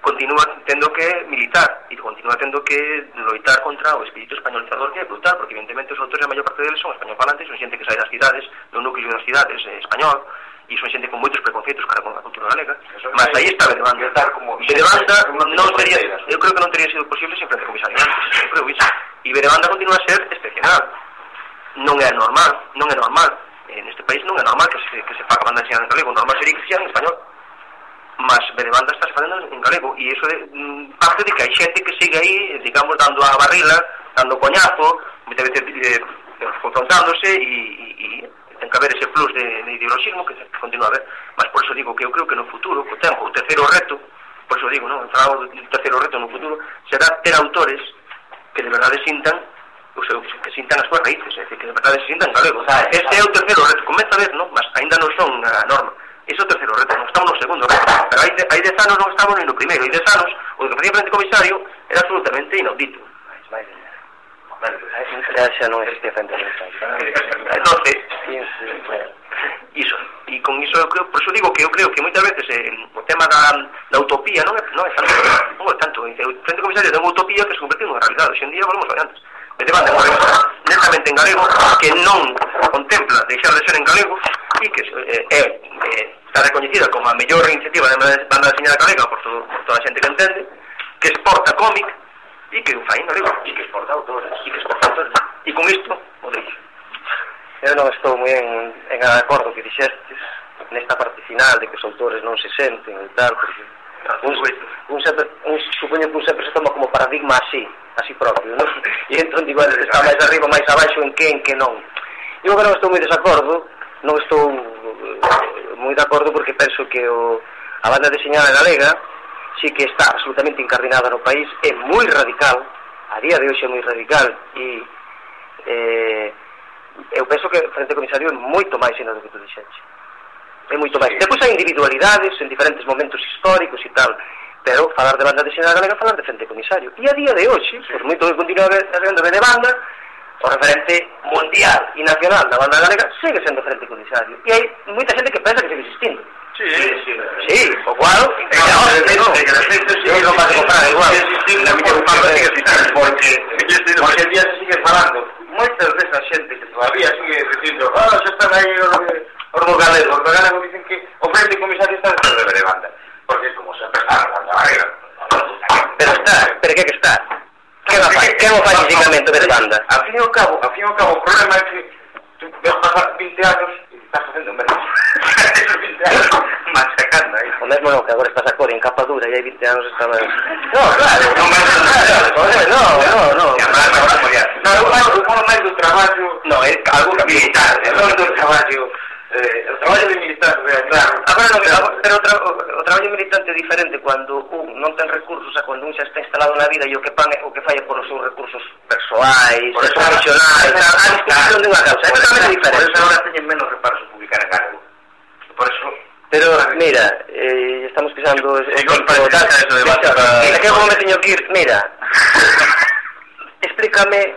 Continúa tendo que militar e continúa tendo que loitar contra o espírito españolizador, que é brutal, porque evidentemente os autores, a maior parte deles son español falantes, son xente que sai das cidades, do núcleo das cidades español, e son xente con moitos preconceitos para con a cultura galega, mas aí está de banda. De banda non teria, eu creo que non teria sido posible sin frente comisario antes, eu creo iso. E de banda continúa a ser excepcional. Non é normal, neste país non é normal que se faga banda enseñada en galego, normal sería que se en español. Mas de banda estás facendo en galego e iso parte de que hai xente que sigue aí, digamos, dando a barrila, dando coñazo, moitas veces confrontándose e ten que haber ese plus de ideologismo que continúa a haber. Mas por iso digo que eu creo que no futuro, co tempo, o terceiro reto, por iso digo, non? Falamos do terceiro reto no futuro, será ter autores que de verdade sintan que sintan as súas raíces, é dicir, que de verdade se sintan galegos. Este é o terceiro reto, comeza a ver, non? Mas ainda non son a norma. Ese é o terceiro reto, non estamos no segundo reto. Pero hai 10 anos non estamos ni no primeiro. Hai 10 anos, o que facía o frente comisario era absolutamente inaudito. Xa non existe frente comisario. Entonces, iso. E con iso, por iso digo que eu creo que moitas veces o tema da utopía non é tanto. O frente comisario é unha utopía que se convertiu nunha realidade. Hoxe en día volvemos a antes. De banda netamente en galego, que non contempla deixar de ser en galego e que está recoñecida como a mellor iniciativa de banda deseñada galega por toda a xente que entende, que exporta cómic e que fai en galego e que exporta autores e con isto o deixo. Eu non estou moi en acordo que dixestes nesta parte final de que os autores non se senten e tal, porque supoño que un sempre se toma como paradigma así propio, non? E entón digo, está máis arriba, máis abaixo, en que non. Eu agora non estou moi desacordo, non estou moi de acordo porque penso que a banda deseñada galega sí que está absolutamente incardinada no país, é moi radical, a día de hoxe é moi radical, e eu penso que Frente Comisario é moito máis do que tu dixeche. É moito máis. Depois hai individualidades en diferentes momentos históricos e tal, pero falar de banda deseñada galega, falar de Frente Comisario. E a día de hoxe, por moito que continúe sendo de banda, o referente mundial e nacional da banda galega segue sendo Frente Comisario. E hai moita xente que pensa que segue existindo. Sí, o cual que non vas a comprar igual. Porque el día se sigue falando moitas desa xente que todavía sigue dicindo xa están aí os galegos dicen que o Frente Comisario está dentro de banda, porque como sempre está na banda galega. Pero que está? Que non fai físicamente de banda? Al fin e ao cabo, o problema é que tú ves pasar 20 anos e estás facendo menos. Esos 20 anos machacando aí. O mesmo non, que agora estás a cor en capa dura e hai 20 anos estaba... No, claro, non máis do traballo... No, é algo militar, non do traballo... o traballo de militar, claro. Pero o traballo militante é diferente cando un non ten recursos a cando un xa está instalado na vida e o que falla por os seus recursos persoais, profesionais, a disposición de unha causa, é totalmente diferente. Por eso agora teñen menos reparos a publicar en galego. Por eso... Pero, mira, estamos pisando o campo tal, é que como me teño que ir, mira, explícame,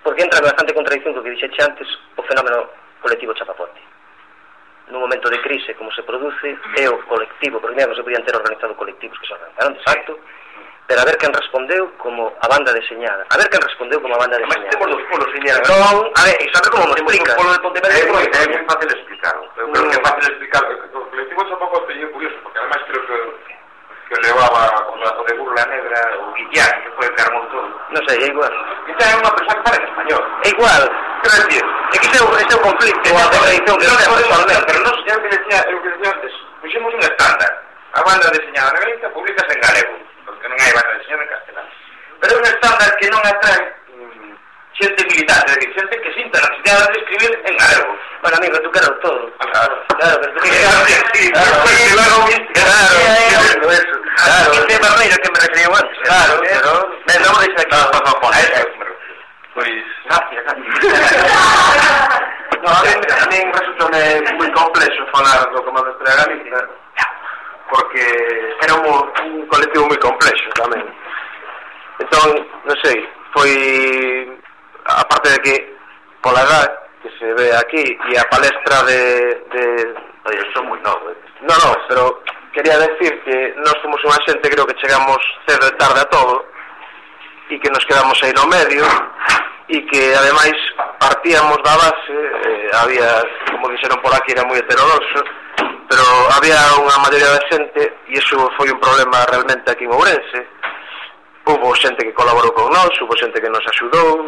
porque entra en bastante contradicción co que dixeche antes, o fenómeno colectivo chapapote. Nun momento de crise como se produce, é o colectivo, porque non se podían ter organizado colectivos que se organizaron de facto, pero a ver quen respondeu como a banda deseñada. A ver quen respondeu como a banda deseñada. Mas temos dos polos, señora. Entón, a ver, e sabe como nos explica? O polo de Pontevedra É moi fácil explicarlo. Eu creo que é fácil explicarlo. O colectivo chapapote é curioso, porque además creo que levaba o de Burla Negra, o Guillán, que foi o que armou todo. Non sei, é igual. Guillán é unha persoa que fala en español. É igual. Quero decir, É que ese é o conflicto, a contradicción que non se personalmente, pero non é o que decía antes. Puxemos un estándar. A banda deseñada na Galicia publicas en galego, porque non hai banda deseñada en castelán. Pero é un estándar que non atrae xente militante, é dicir, xente que sinta a necesidade de escribir en galego. Bueno, amigo, tú quero todo. Claro, pero tú que claro, este barreiro que me referiu antes. Claro, pero non deixa aquí. Pois, Gracias. no, a mí resulta moi complexo falar do Comando de Galicia, porque era un colectivo moi complexo tamén. Entón, non sei, foi aparte de que pola edad que se ve aquí e a palestra Oye, son moi novos. No, pero quería decir que nós somos unha xente, creo que chegamos cedo e tarde a todo e que nos quedamos aí no medio e que ademais partíamos da base, había, como dixeron por aquí, era moi heterodoxo, pero había unha maioría de xente e iso foi un problema realmente aquí en Ourense. Hubo xente que colaborou con nós, hubo xente que nos axudou,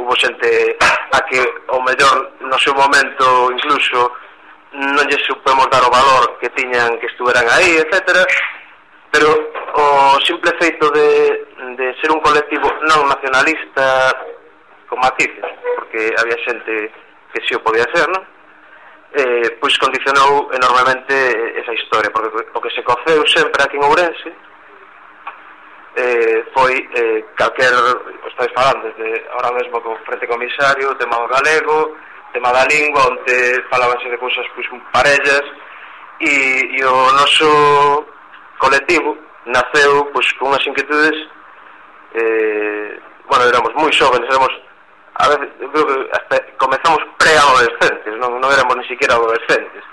hubo xente a que ao mellor no seu momento incluso non lle supemos dar o valor que tiñan que estuveran aí, etcétera, pero o simple feito de ser un colectivo non nacionalista con matices, porque había xente que si o podía ser, non? Pois condicionou enormemente esa historia, porque o que se coceu sempre aquí en Ourense foi calquer, estáis falando desde ahora mesmo co Frente Comisario, o tema do galego, o tema da lingua, onde falábanse de cousas pois parellas, e o noso colectivo naceu pois con unhas inquietudes, bueno, éramos moi xóvenes, a veces, eu creo que hasta comezamos pre-adolescentes, non éramos ni siquiera adolescentes,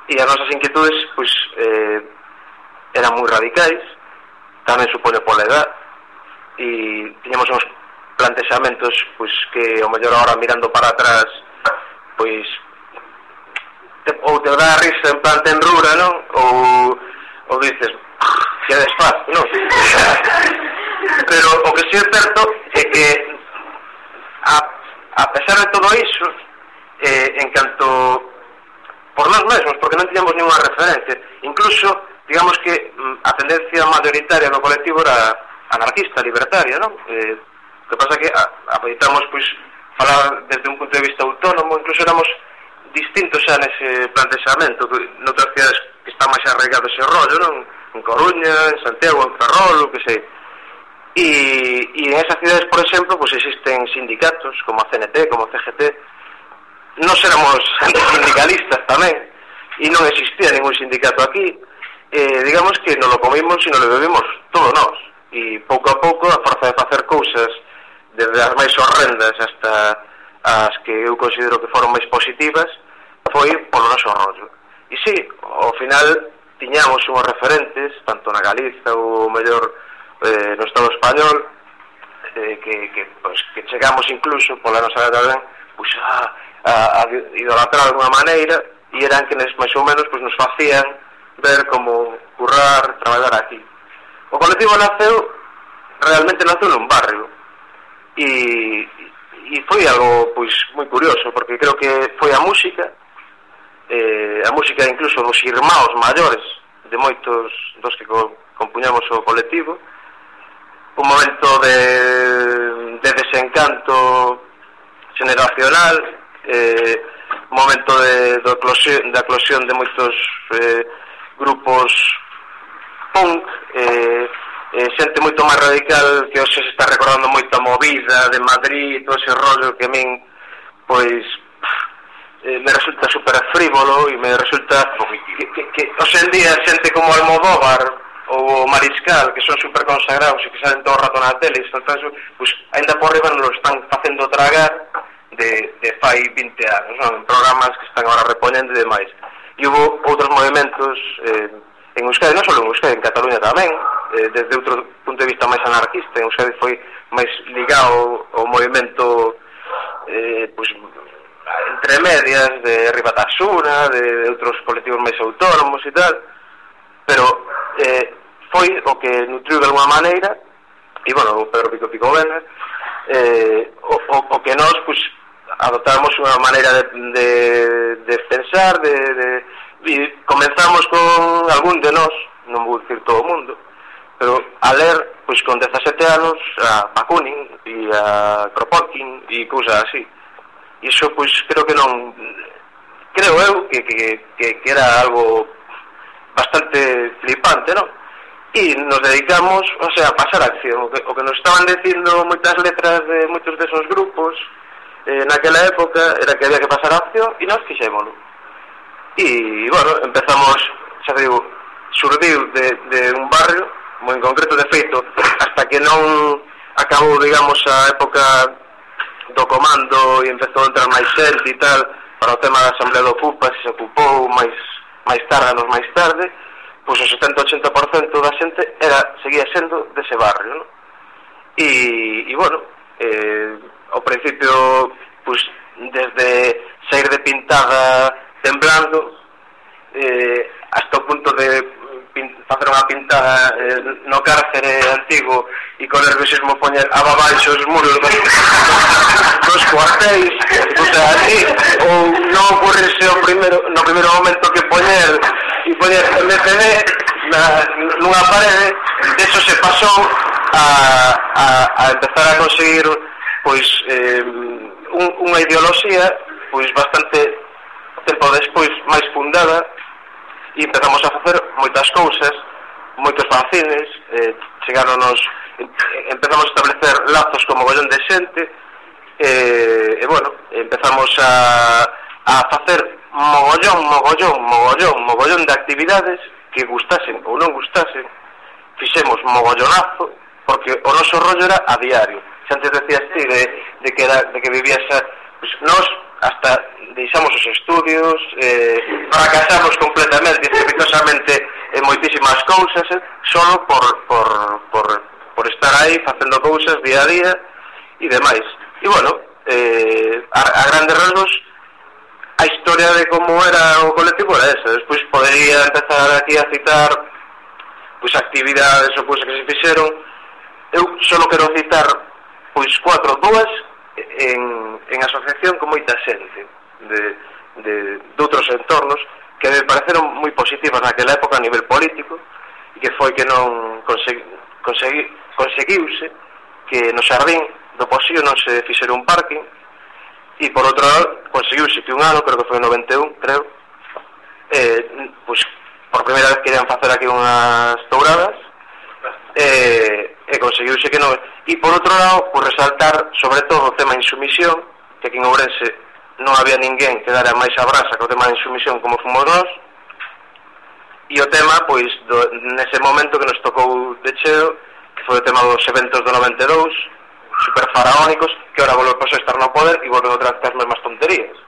e as nosas inquietudes pois eran moi radicais, tamén supone pola edad, e tiñamos uns plantexamentos pois que ao mellor agora mirando para atrás pois ou te dá risa en plan tenrura, non? Ou dices que desfaz, non? Pero o que sí é certo é que a pesar de todo iso, en canto por nós mesmos, porque non tiñamos ninguna referencia, incluso digamos que a tendencia mayoritaria do colectivo era anarquista, libertaria, non? O que pasa que apoitamos, pois, falar desde un punto de vista autónomo, incluso éramos distintos xa nese plantexamento, noutras cidades que está máis arraigado ese rollo, non? En Coruña, en Santiago, en Ferrol, o que sei. E en esas cidades, por exemplo, pois existen sindicatos, como a CNT, como a CGT. Nos éramos sindicalistas tamén, e non existía ningún sindicato aquí. Digamos que non lo comimos e non lo bebimos todo nós, e pouco a pouco a forza de facer cousas desde as máis horrendas hasta as que eu considero que foron máis positivas foi polo noso rollo. E sí, ao final tiñamos unhos referentes tanto na Galiza ou mellor no Estado español que chegamos incluso pola nosa edad tamén pois a idolatrar de alguna maneira, e eran quenes máis ou menos pois nos facían ver como currar, traballar aquí. O colectivo realmente naceu nun barrio, e foi algo pois moi curioso, porque creo que foi a música incluso dos irmãos maiores de moitos dos que compuñamos o colectivo, un momento de desencanto generacional, un momento de eclosión de moitos grupos punk, xente moito máis radical que hoxe se está recordando moito a movida de Madrid, todo ese rollo que a min pois me resulta super frívolo, e me resulta que hoxe en día xente como Almodóvar ou Mariscal, que son super consagrados e que salen todo o rato na tele, pois ainda por riba nos lo están facendo tragar de fai 20 anos, non? En programas que están agora repoñendo e demais. E houve outros movimentos en Euskadi, non só en Euskadi, en Cataluña tamén, desde outro punto de vista máis anarquista. En Euskadi foi máis ligado ao movimento pois, entre medias de Ribatasuna, de outros colectivos máis autónomos e tal, pero foi o que nutriu de alguma maneira, e bueno, o Pedro Pico Vena, o que nós pois adoptamos unha maneira de pensar, e comenzamos con algún de nós, non vou dicir todo o mundo, pero a ler pois con 17 anos a Bakunin e a Kropotkin e cousas así. E iso pois creo eu que era algo bastante flipante, non? E nos dedicamos, o sea, a pasar a acción. O que nos estaban dicindo moitas letras de moitos desos grupos naquela época era que había que pasar a acción, e nós fixémolo. E, bueno, empezamos, xa digo, surdiu de un barrio moi en concreto, de feito, hasta que non acabou, digamos, a época do comando e empezou a entrar máis xente e tal, para o tema da Asamblea do Ocupa, se ocupou máis tarde, anos máis tarde, pois o 70-80% da xente seguía sendo dese barrio, non? E bueno, ao principio, pois, desde sair de pintada temblando, hasta o punto de facer unha pintada no cárcere antigo e con nerviosismo poñer abaixo os muros dos cuartéis, o sea, así, ou non ocurrirse no primeiro momento que poñer MCD nunha parede. De eso se pasou a empezar a conseguir pois unha ideoloxía pois bastante tempo despois máis fundada, e empezamos a facer moitas cousas moitos fanzines, chegaronos, empezamos a establecer lazos con mogollón de xente, e bueno, empezamos a facer mogollón de actividades que gustasen ou non gustasen. Fixemos mogollonazo, porque o noso rollo era a diario. Se antes decías ti de que vivías pues nós hasta deixamos os estudios, fracasamos completamente, estrepitosamente en moitísimas cousas, solo por estar aí facendo cousas día a día e demais. E bueno, a grandes rasgos a historia de como era o colectivo era esa. Despois podería empezar aquí a citar pois actividades ou cousas que se fixeron. Eu só quero citar pois 4 dúas en asociación con moita xente de outros entornos que me pareceron moi positivas naquela época a nivel político, e que foi que non conseguiuse que no Xardín do Poxío non se fixera un parking, e por outro lado conseguiuse que un ano, creo que foi en 91, creo, pois por primeira vez querían facer aquí unhas touradas, e conseguiuse que non. E por outro lado, por resaltar sobre todo o tema insumisión, que aquí en Ourense non había ninguén que dara máis a brasa que o tema de insumisión como fomos nós, e o tema, pois, nese momento que nos tocou de cheo, que foi o tema dos eventos do 92, super faraónicos, que ahora volve a estar no poder e volve outra vez as mesmas tonterías,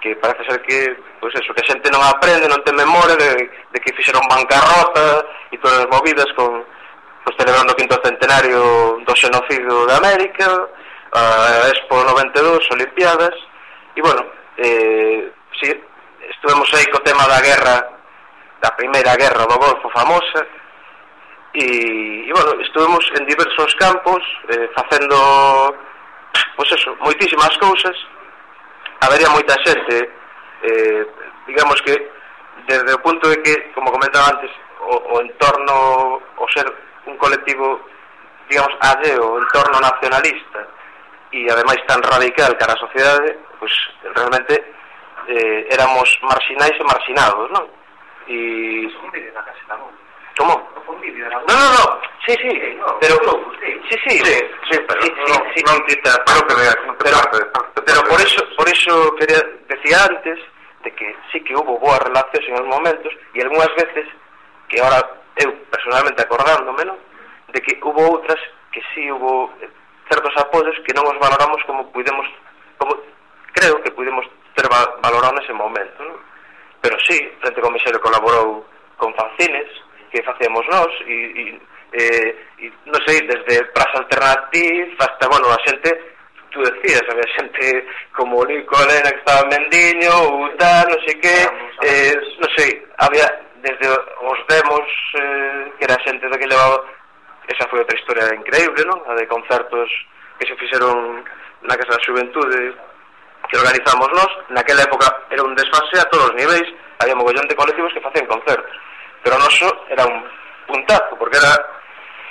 que parece ser que, pois eso, que a xente non aprende, non ten memoria de que fixeron bancarrota e todas as movidas con, pois, celebrando o 5º centenario do xenocidio de América, a Expo 92, Olimpiadas, e bueno, si, estuvemos aí co tema da guerra, da primeira guerra do Golfo famosa, e bueno, estuvemos en diversos campos facendo, pois eso, moitísimas cousas. Habería moita xente, digamos que desde o punto de que, como comentaba antes, o entorno, o ser un colectivo, digamos, alleo, o entorno nacionalista e ademais tan radical cara a sociedade, pois realmente éramos marxinais e marxinados, non? E... ¿Cómo? No. Sí, pero pero por eso quería decir antes de que sí que hubo boas relacións en os momentos, e algunhas veces que ahora eu personalmente acordándome, ¿no?, de que hubo outras que sí hubo certos apoios que non os valoramos como creo que pudemos ter valorado nese momento, ¿no? Pero sí, Frente Comisario colaborou con fanzines que facíamos nós e non sei, desde Praza Alternativa hasta, bueno, a xente, tú decías, había xente como Nico Elena que estaba en Mendiño ou tal, non sei que, non sei, había desde os demos que era xente do que levaba, esa foi outra historia increíble, non? A de concertos que se fixeron na Casa da Xuventude que organizamos nós. Naquela época era un desfase a todos os niveis, había mogollón de colectivos que facían concertos, pero o noso era un puntazo, porque era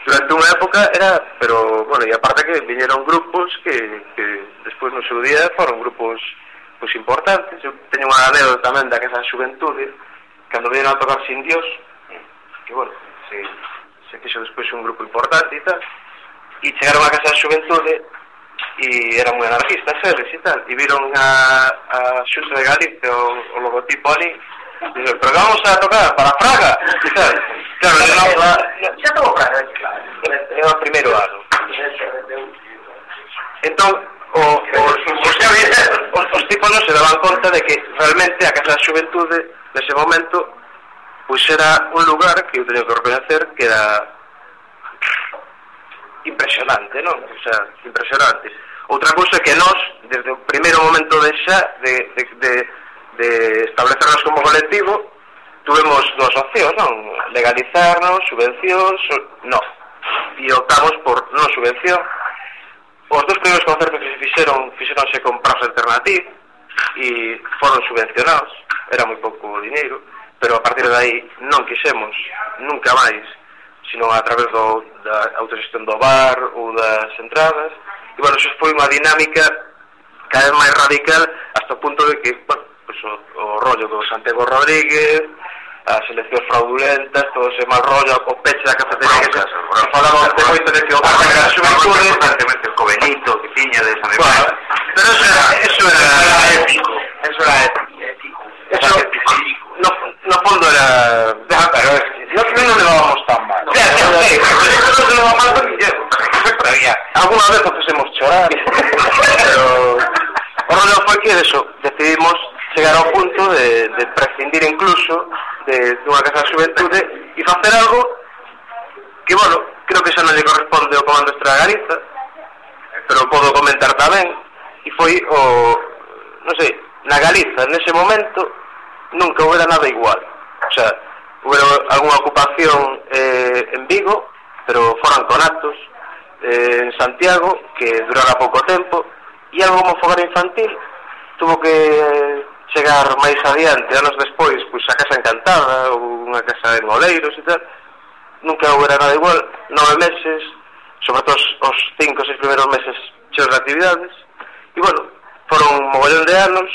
durante unha época era, pero bueno, e aparte que viñeron grupos que despois no seu día foron grupos pois importantes. Eu teño unha anécdota tamén da Casa da Xuventude cando viñeron a tocar Sin Dios, que bueno, se fixo despois un grupo importante e tal, e chegaron a Casa da Xuventude e eran moi anarquistas eles e tal, e viron a Xunta de Galicia o logotipo ali. Dice, pero vamos a tocar para Fraga, ¿sabes? Claro, xa tomou Fraga, claro. É o primeiro ano. Entón, os tipos non se daban conta de que realmente a Casa da Xuventude nese momento pois era un lugar que eu teño que reconocer que era impresionante, non? O sea, impresionante. Outra cousa que nós, desde o primeiro momento de establecernos como colectivo, tuvemos dúas opcións, non? Legalizarnos, subvencións, non. E optamos por non subvención. Os dos primeiros concertos que se fixeronse con Praza Alternativa e foron subvencionados, era moi pouco dineiro, pero a partir de aí non quixemos nunca máis, sino a través da autoxestión do bar ou das entradas. E, bueno, eso foi unha dinámica cada vez máis radical hasta o punto de que, bueno, pues, o rollo do Santiago Rodríguez, as eleccións fraudulentas, todo ese mal rollo, o peche da cafetería que se falaba moito de que o Casa da Xuventude constantemente o Benito que tiña de esa memoria. Pero eso era épico. Eso era épico. Eso no fondo era... Pero es que no levábamos tan mal. No se levaba mal con Guillermo. Alguna vez nos hemos chorar. Pero o rollo foi que eso, decidimos chegar ao punto de prescindir incluso dunha Casa da Xuventude e facer algo que, bueno, creo que xa non lle corresponde ao Comando Estrela de Galiza, pero podo comentar tamén, e foi non sei, na Galiza nese momento nunca houbera nada igual. O sea, houbera algunha ocupación en Vigo, pero foran conatos, en Santiago, que durara pouco tempo, e algo como fogar infantil tuvo que chegar máis adiante, anos despois, pois a Casa Encantada ou unha casa en Oleiros e tal. Nunca houbera nada igual. 9 meses, sobre todo os 5 ou 6 primeiros meses cheos de actividades, e bueno, foron un mogollón de anos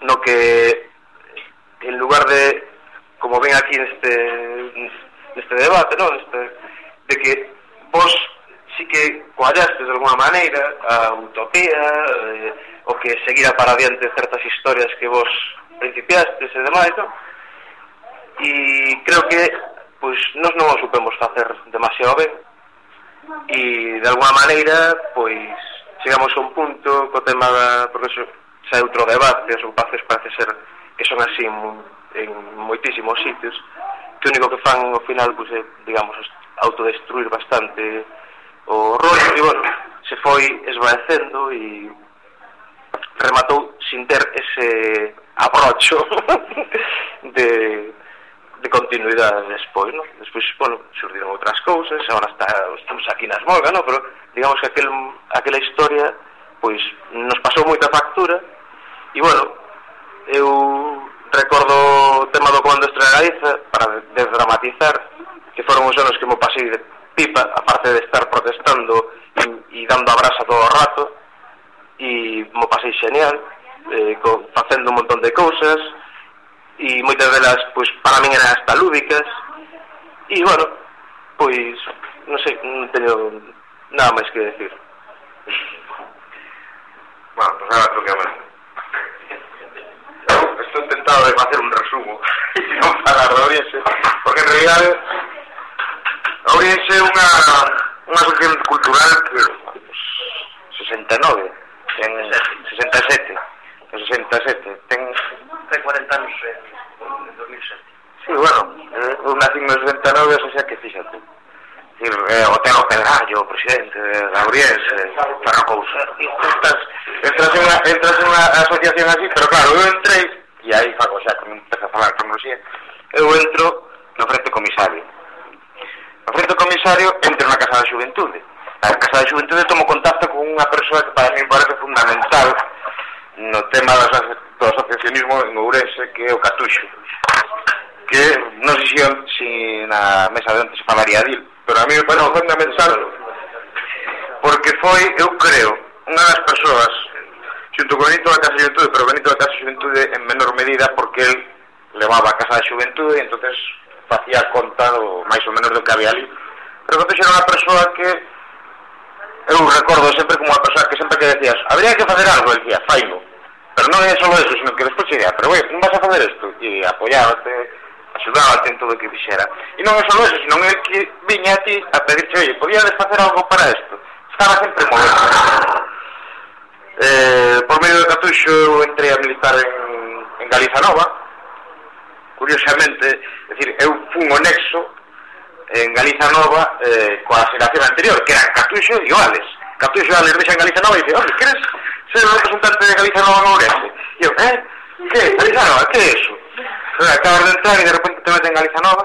no que en lugar de, como ven aquí neste debate, ¿no? De que vos sí que coallastes de alguna maneira a utopía, o que seguira para adiante certas historias que vos principiastes e demais, non? E creo que pois nós non o supemos facer demasiado ben, e de alguna maneira pois chegamos a un punto co tema porque xa é outro debate, as ocupacións parece ser que son así en moitísimos sitios, que o único que fan ao final pois é, digamos, autodestruir bastante o rollo, e bueno, se foi esvaecendo e rematou sin ter ese abrocho de continuidade despois, ¿no? Despois, bueno, surdiron outras cousas, agora estamos aquí nas Molgas, ¿no? Pero digamos que aquela historia pois nos pasou moita factura, e bueno, eu recordo o tema do Comando Estrela de Galiza para desdramatizar, que foron os anos que mo pasei de pipa, aparte de estar protestando e dando a brasa todo o rato, e mo pasei genial, facendo un montón de cousas, e moitas delas, pois, para min eran hasta lúdicas, e, bueno, pois, non sei, non teño nada máis que decir. Bueno, pues ahora creo que estou intentado de facer un resumo e non falar de Ourense, porque en realidad Ourense é unha asociación cultural que 69 en 67 ten 40 anos en 2007. Sí, bueno, eu nací en 69, o sea que fíxate. O Telo Pedrallo, o presidente da Ourense, para cousa. Entras en unha asociación así, pero claro, eu entrei, e aí fago xa, como empeza a falar cronoloxía, eu entro no Frente Comisario. No Frente Comisario entro na Casa da Xuventude. Na Casa da Xuventude tomo contacto con unha persoa que para mí me parece fundamental no tema do asociacionismo en Ourense, que é o Catuxo, que non sei se na mesa de onte se falaría dil, pero a mí me parece fundamental porque foi, eu creo, unha das persoas xunto con Benito da Casa da Xuventude, pero Benito da Casa da Xuventude en menor medida porque el levaba a Casa da Xuventude e entonces facía conta máis ou menos do que había ali, pero Catuxo era unha persoa que eu recordo sempre como unha persoa que sempre que decías habría que facer algo, el decía, faino, pero non é só eso, sino que despois diría, pero wey, non vas a facer isto, e apoyábate, axudábate en todo o que fixera, e non é só eso, sino é que viña a ti a pedirche, oye, podíades facer algo para isto, estaba sempre movendo. Por medio de Catuxo eu entrei a militar en Galiza Nova, curiosamente, é dicir, eu fun o nexo en Galiza Nova coa xeración anterior, que eran Catuxo e Oales. Catuxo e Oales deixan Galiza Nova e dice, oye, queres ser o representante de Galiza Nova en Ourense? E eu, que? Galiza Nova, que é eso? Acabas de entrar e de repente te meten en Galiza Nova,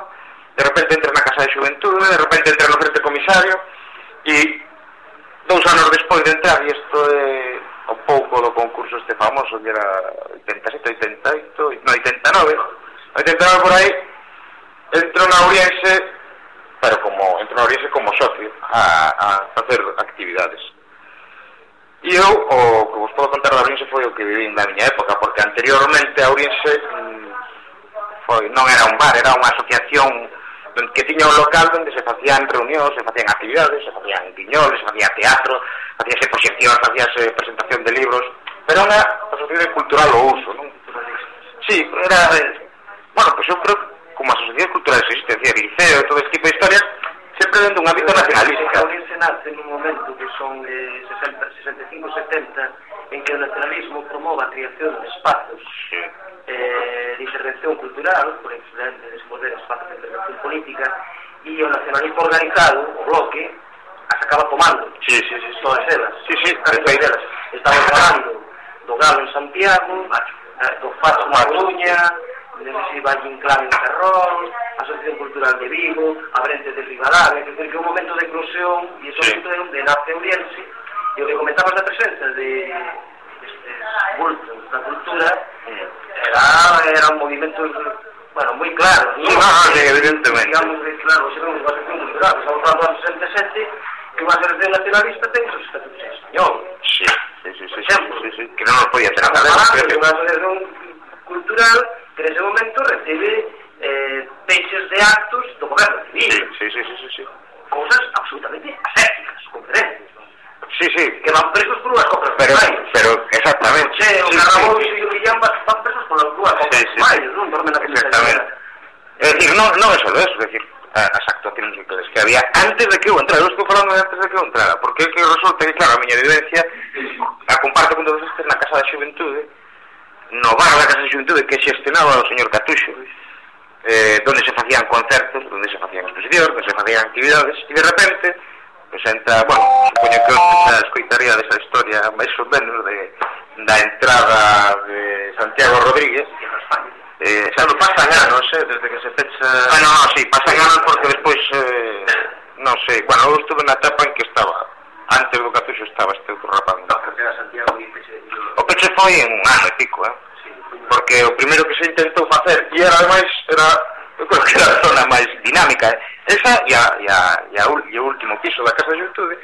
de repente entras na Casa de Xuventude, de repente entras no Frente Comisario, e 2 anos despois de entrar, e isto é un pouco do concurso este famoso, que era 87, 88, no, 89 por aí, entro na Ourense, pero entro na Ourense como socio a facer actividades. E eu, o que vos podo contar da Ourense foi o que viví na miña época, porque anteriormente a Ourense non era un bar, era unha asociación que tiña un local onde se facían reunións, se facían actividades, se facían guiñoles, se facía teatro, facíase proxección, facíase presentación de libros, pero unha asociación cultural ao uso, non? Sí, era... Bueno, pues eu creo que como asociación cultural existe, decía, liceo e todo este tipo de historias, sempre dentro dun ámbito nacionalista. A Ourense nace nun momento que son 65-70, en que o nacionalismo promova a creación de espazos de intervención cultural, por excelente desenvolver espazos de intervención política, e o nacionalismo organizado, o bloque, as acaba tomando. Todas elas. Elas. Estamos falando do Galo en Santiago, do Facho na Coruña, de Valle Inclán en Ferrol, a Asociación Cultural de Vigo, a Brente de Ribadavia, que é un momento de eclosión e é un momento de nace Ourense, e o que comentabas da presenza de estes bultos da cultura era un movimento, bueno, moi claro, evidentemente, digamos que claro, se vemos unha asociación cultural, estamos falando do 67, que unha asociación nacionalista ten os estatutos españoles, que non nos podía ter nada de unha asociación cultural que nese momento recibe peixes de actos do goberno civil. Sí. Cousas absolutamente asépticas, conferencias. Sí. Que van presos por unhas compras pero exactamente. O Carrabous e o Guillán van presos por unhas compras non dormen na exactamente. É dicir, non é só eso, é dicir, as actuacións que había antes de que eu entrara. Eu estou falando de antes de que eu entrara, porque é que resulta que, claro, a miña vivencia a comparto con todos estes na Casa da Xuventude, no bar da Casa da Xuventude que xestionaba o señor Catuxo, donde se facían concertos, donde se facían exposicións, donde se facían actividades, e de repente pues entra, bueno, supoño que xa escoitaría desa historia máis ou menos da entrada de Santiago Rodríguez. Xa non pasan anos, desde que se fecha... Sí, pasan anos porque despois, non sei, bueno, eu estuve na etapa en que estaba, antes do Catuxo estaba este outro rapaz. Que era Santiago e Peche. O Peche foi en un ano e pico, porque o primeiro que se intentou facer, e era ademais, eu creo que era a zona máis dinámica, esa e o último piso da Casa da Xuventude,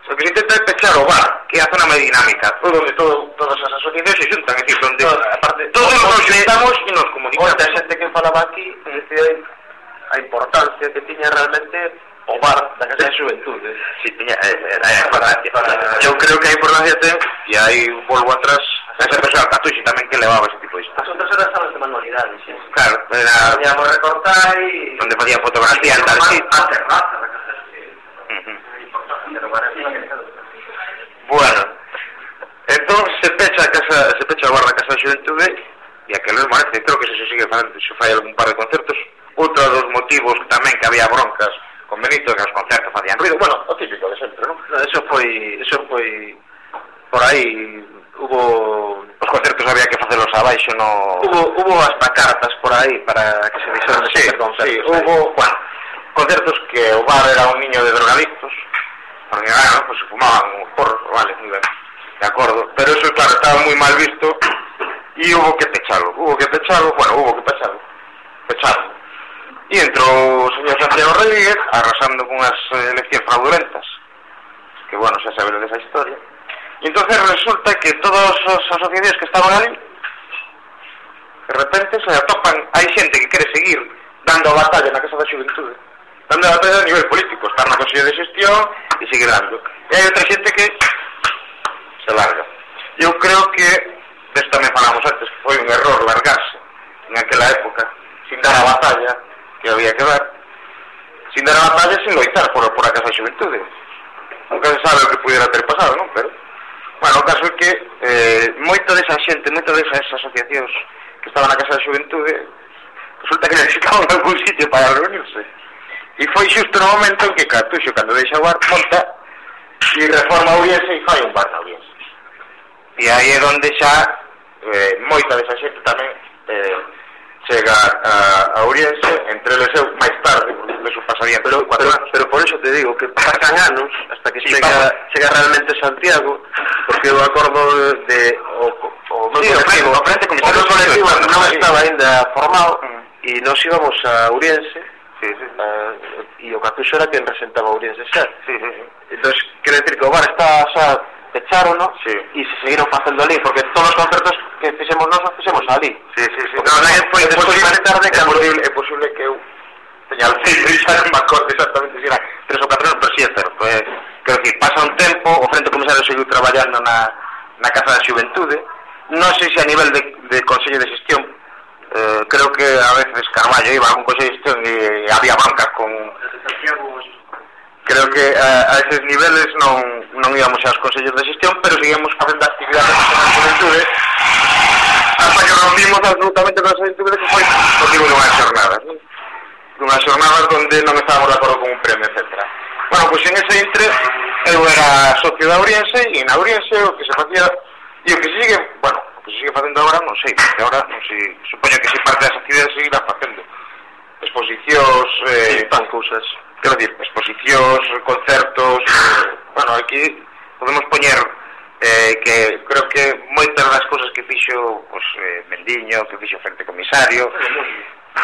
o que se intenta é pechar o bar, que é a zona máis dinámica, onde todas as asociacións se juntan, é dicir, onde todos nos juntamos e nos comunicamos. Outra xente que falaba aquí, decía a importancia que tiña realmente o bar da Casa da Xuventude. Si, tiña, era importancia. Eu creo que a importancia ten, e aí volvo atrás, esa persoa Catuxi tamén que levaba ese tipo de As outras eran salas de manualidades, Claro, era... Podíamos recortar e... Onde facían fotografía, tal, sí. A terraza da Casa da Xuventude. Bueno, entón se pecha o bar da Casa da Xuventude e aquel mesmo ano, creo que se sigue facendo, se fai algún par de concertos. Outro dos motivos tamén que había broncas con Benito, que os concertos facían ruido, bueno, o típico de sempre, non? Eso foi por aí, hubo... Os concertos había que facelos abaixo, no... Hubo hasta cartas por aí para que se deixaran de facer concertos. Sí, hubo, bueno, concertos que o bar era un niño de drogadictos, porque, pues se fumaban porros, vale, moi ben, de acordo, pero eso, claro, estaba moi mal visto e hubo que pecharlo, e entrou o señor Santiago Rodríguez arrasando con as eleccións fraudulentas, que, bueno, xa saberon desa historia, e entonces resulta que todas as asociacións que estaban ali de repente se atopan, hai xente que quere seguir dando a batalla na Casa da Xuventude, dando a batalla a nivel político, estar na Consello de Xestión e seguir dando, e hai outra xente que se larga. Eu creo que desto tamén falamos antes, que foi un error largarse en aquela época sin dar a batalla que había que dar, sin dar a batalla, sin loitar por a Casa da Xuventude. Nunca se sabe o que pudiera ter pasado, non? Pero, bueno, o caso é que moita desa xente, moita desas asociacións que estaban na Casa da Xuventude, resulta que necesitaban algún sitio para reunirse. E foi xusto no momento en que Catuxo, cando deixa o bar, monta e reforma Ourense e fai un bar na Ourense. E aí é onde xa moita desa xente tamén chega a Ourense, entre eles eu máis tarde, porque eso pasaría pero por eso te digo que pasan anos hasta que chega realmente Santiago, porque eu acordo de o frente colectivo non estaba ainda formado e nos íbamos a Ourense e o Catuxo era quen presentaba Ourense xa. Entón, quero decir que o bar está xa pecharon, ¿no? Sí. E se seguiron facendo ali, porque todos os concertos que fixemos nós os fixemos ali. Sí. É posible que eu teña alceiro e xa non me acordo exactamente se era 3 ou 4 anos, pero si é certo. Quero dicir, pasa un tempo, o Frente Comisario seguiu traballando na Casa da Xuventude, non sei se a nivel de Consello de Xestión, creo que a veces Carballo iba a algún Consello de Xestión e había bancas con... Creo que a esos niveles non íbamos aos Consellos de Xestión, pero seguíamos facendo actividades na Xuventude hasta que rompimos absolutamente con a Xuventude, que foi motivo dunhas xornadas, non? Dunhas xornadas onde non estábamos de acordo con un premio, etc. Bueno, pois en ese intre eu era socio da Ouriense e na Ouriense o que se facía e o que se sigue, bueno, o que se sigue facendo agora non sei, porque agora non sei, supoño que se parte das actividades seguirá facendo exposicións, Tan cousas. quero dicir, exposicións, concertos, bueno, aquí podemos poñer que creo que moitas das cousas que fixo pues, Mendiño, que fixo Frente Comisario,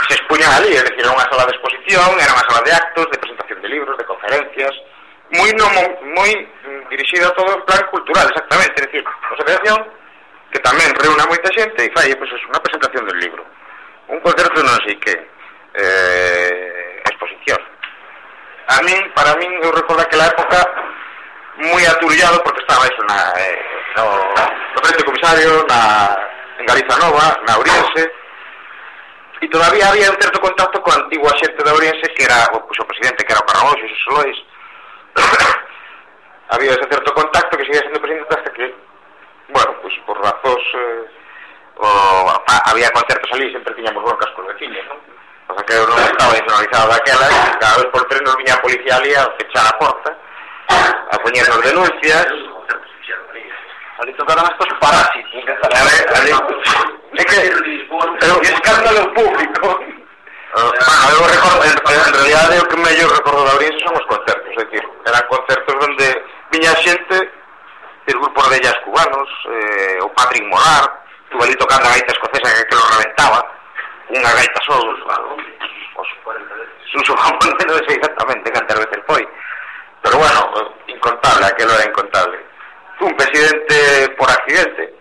se expuñan ali, é dicir, era unha sala de exposición, era unha sala de actos, de presentación de libros, de conferencias, moi dirixida a todo en plan cultural, exactamente, é dicir, unha asociación que tamén reúne a moita xente e fai, pois, unha presentación del libro, un concerto non sei que, exposición. Para min, eu recordo aquela época moi aturullado porque estaba eso no Frente Comisario, en Galiza Nova, na Ouriense, e todavía había un certo contacto con a antigua xente da Ouriense que era pues, o presidente, que era o Carragoxo, Xosé Lois. Había ese certo contacto que seguía sendo presidente hasta que, bueno, pues por razóns había concertos ali, sempre tiñamos broncas con veciños, non? O sea que eu non estaba nacionalizado daquela e cada vez por tres nos viña a policía ali a fechar a porta, a poñernos denuncias. Ali tocaron estos parásitos. É que é un escándalo público. Eu recordo, en realidade o que mellor recordo da Ouriense son os concertos, é dicir, eran concertos onde viña xente de grupos de ellas cubanos, o Patrick Molar, estuvo ali tocando a gaita escocesa que lo reventaba, unha gaita só, Suso Jamón, non sei exactamente cantas veces foi, pero bueno, incontable, aquelo era incontable. Un presidente por accidente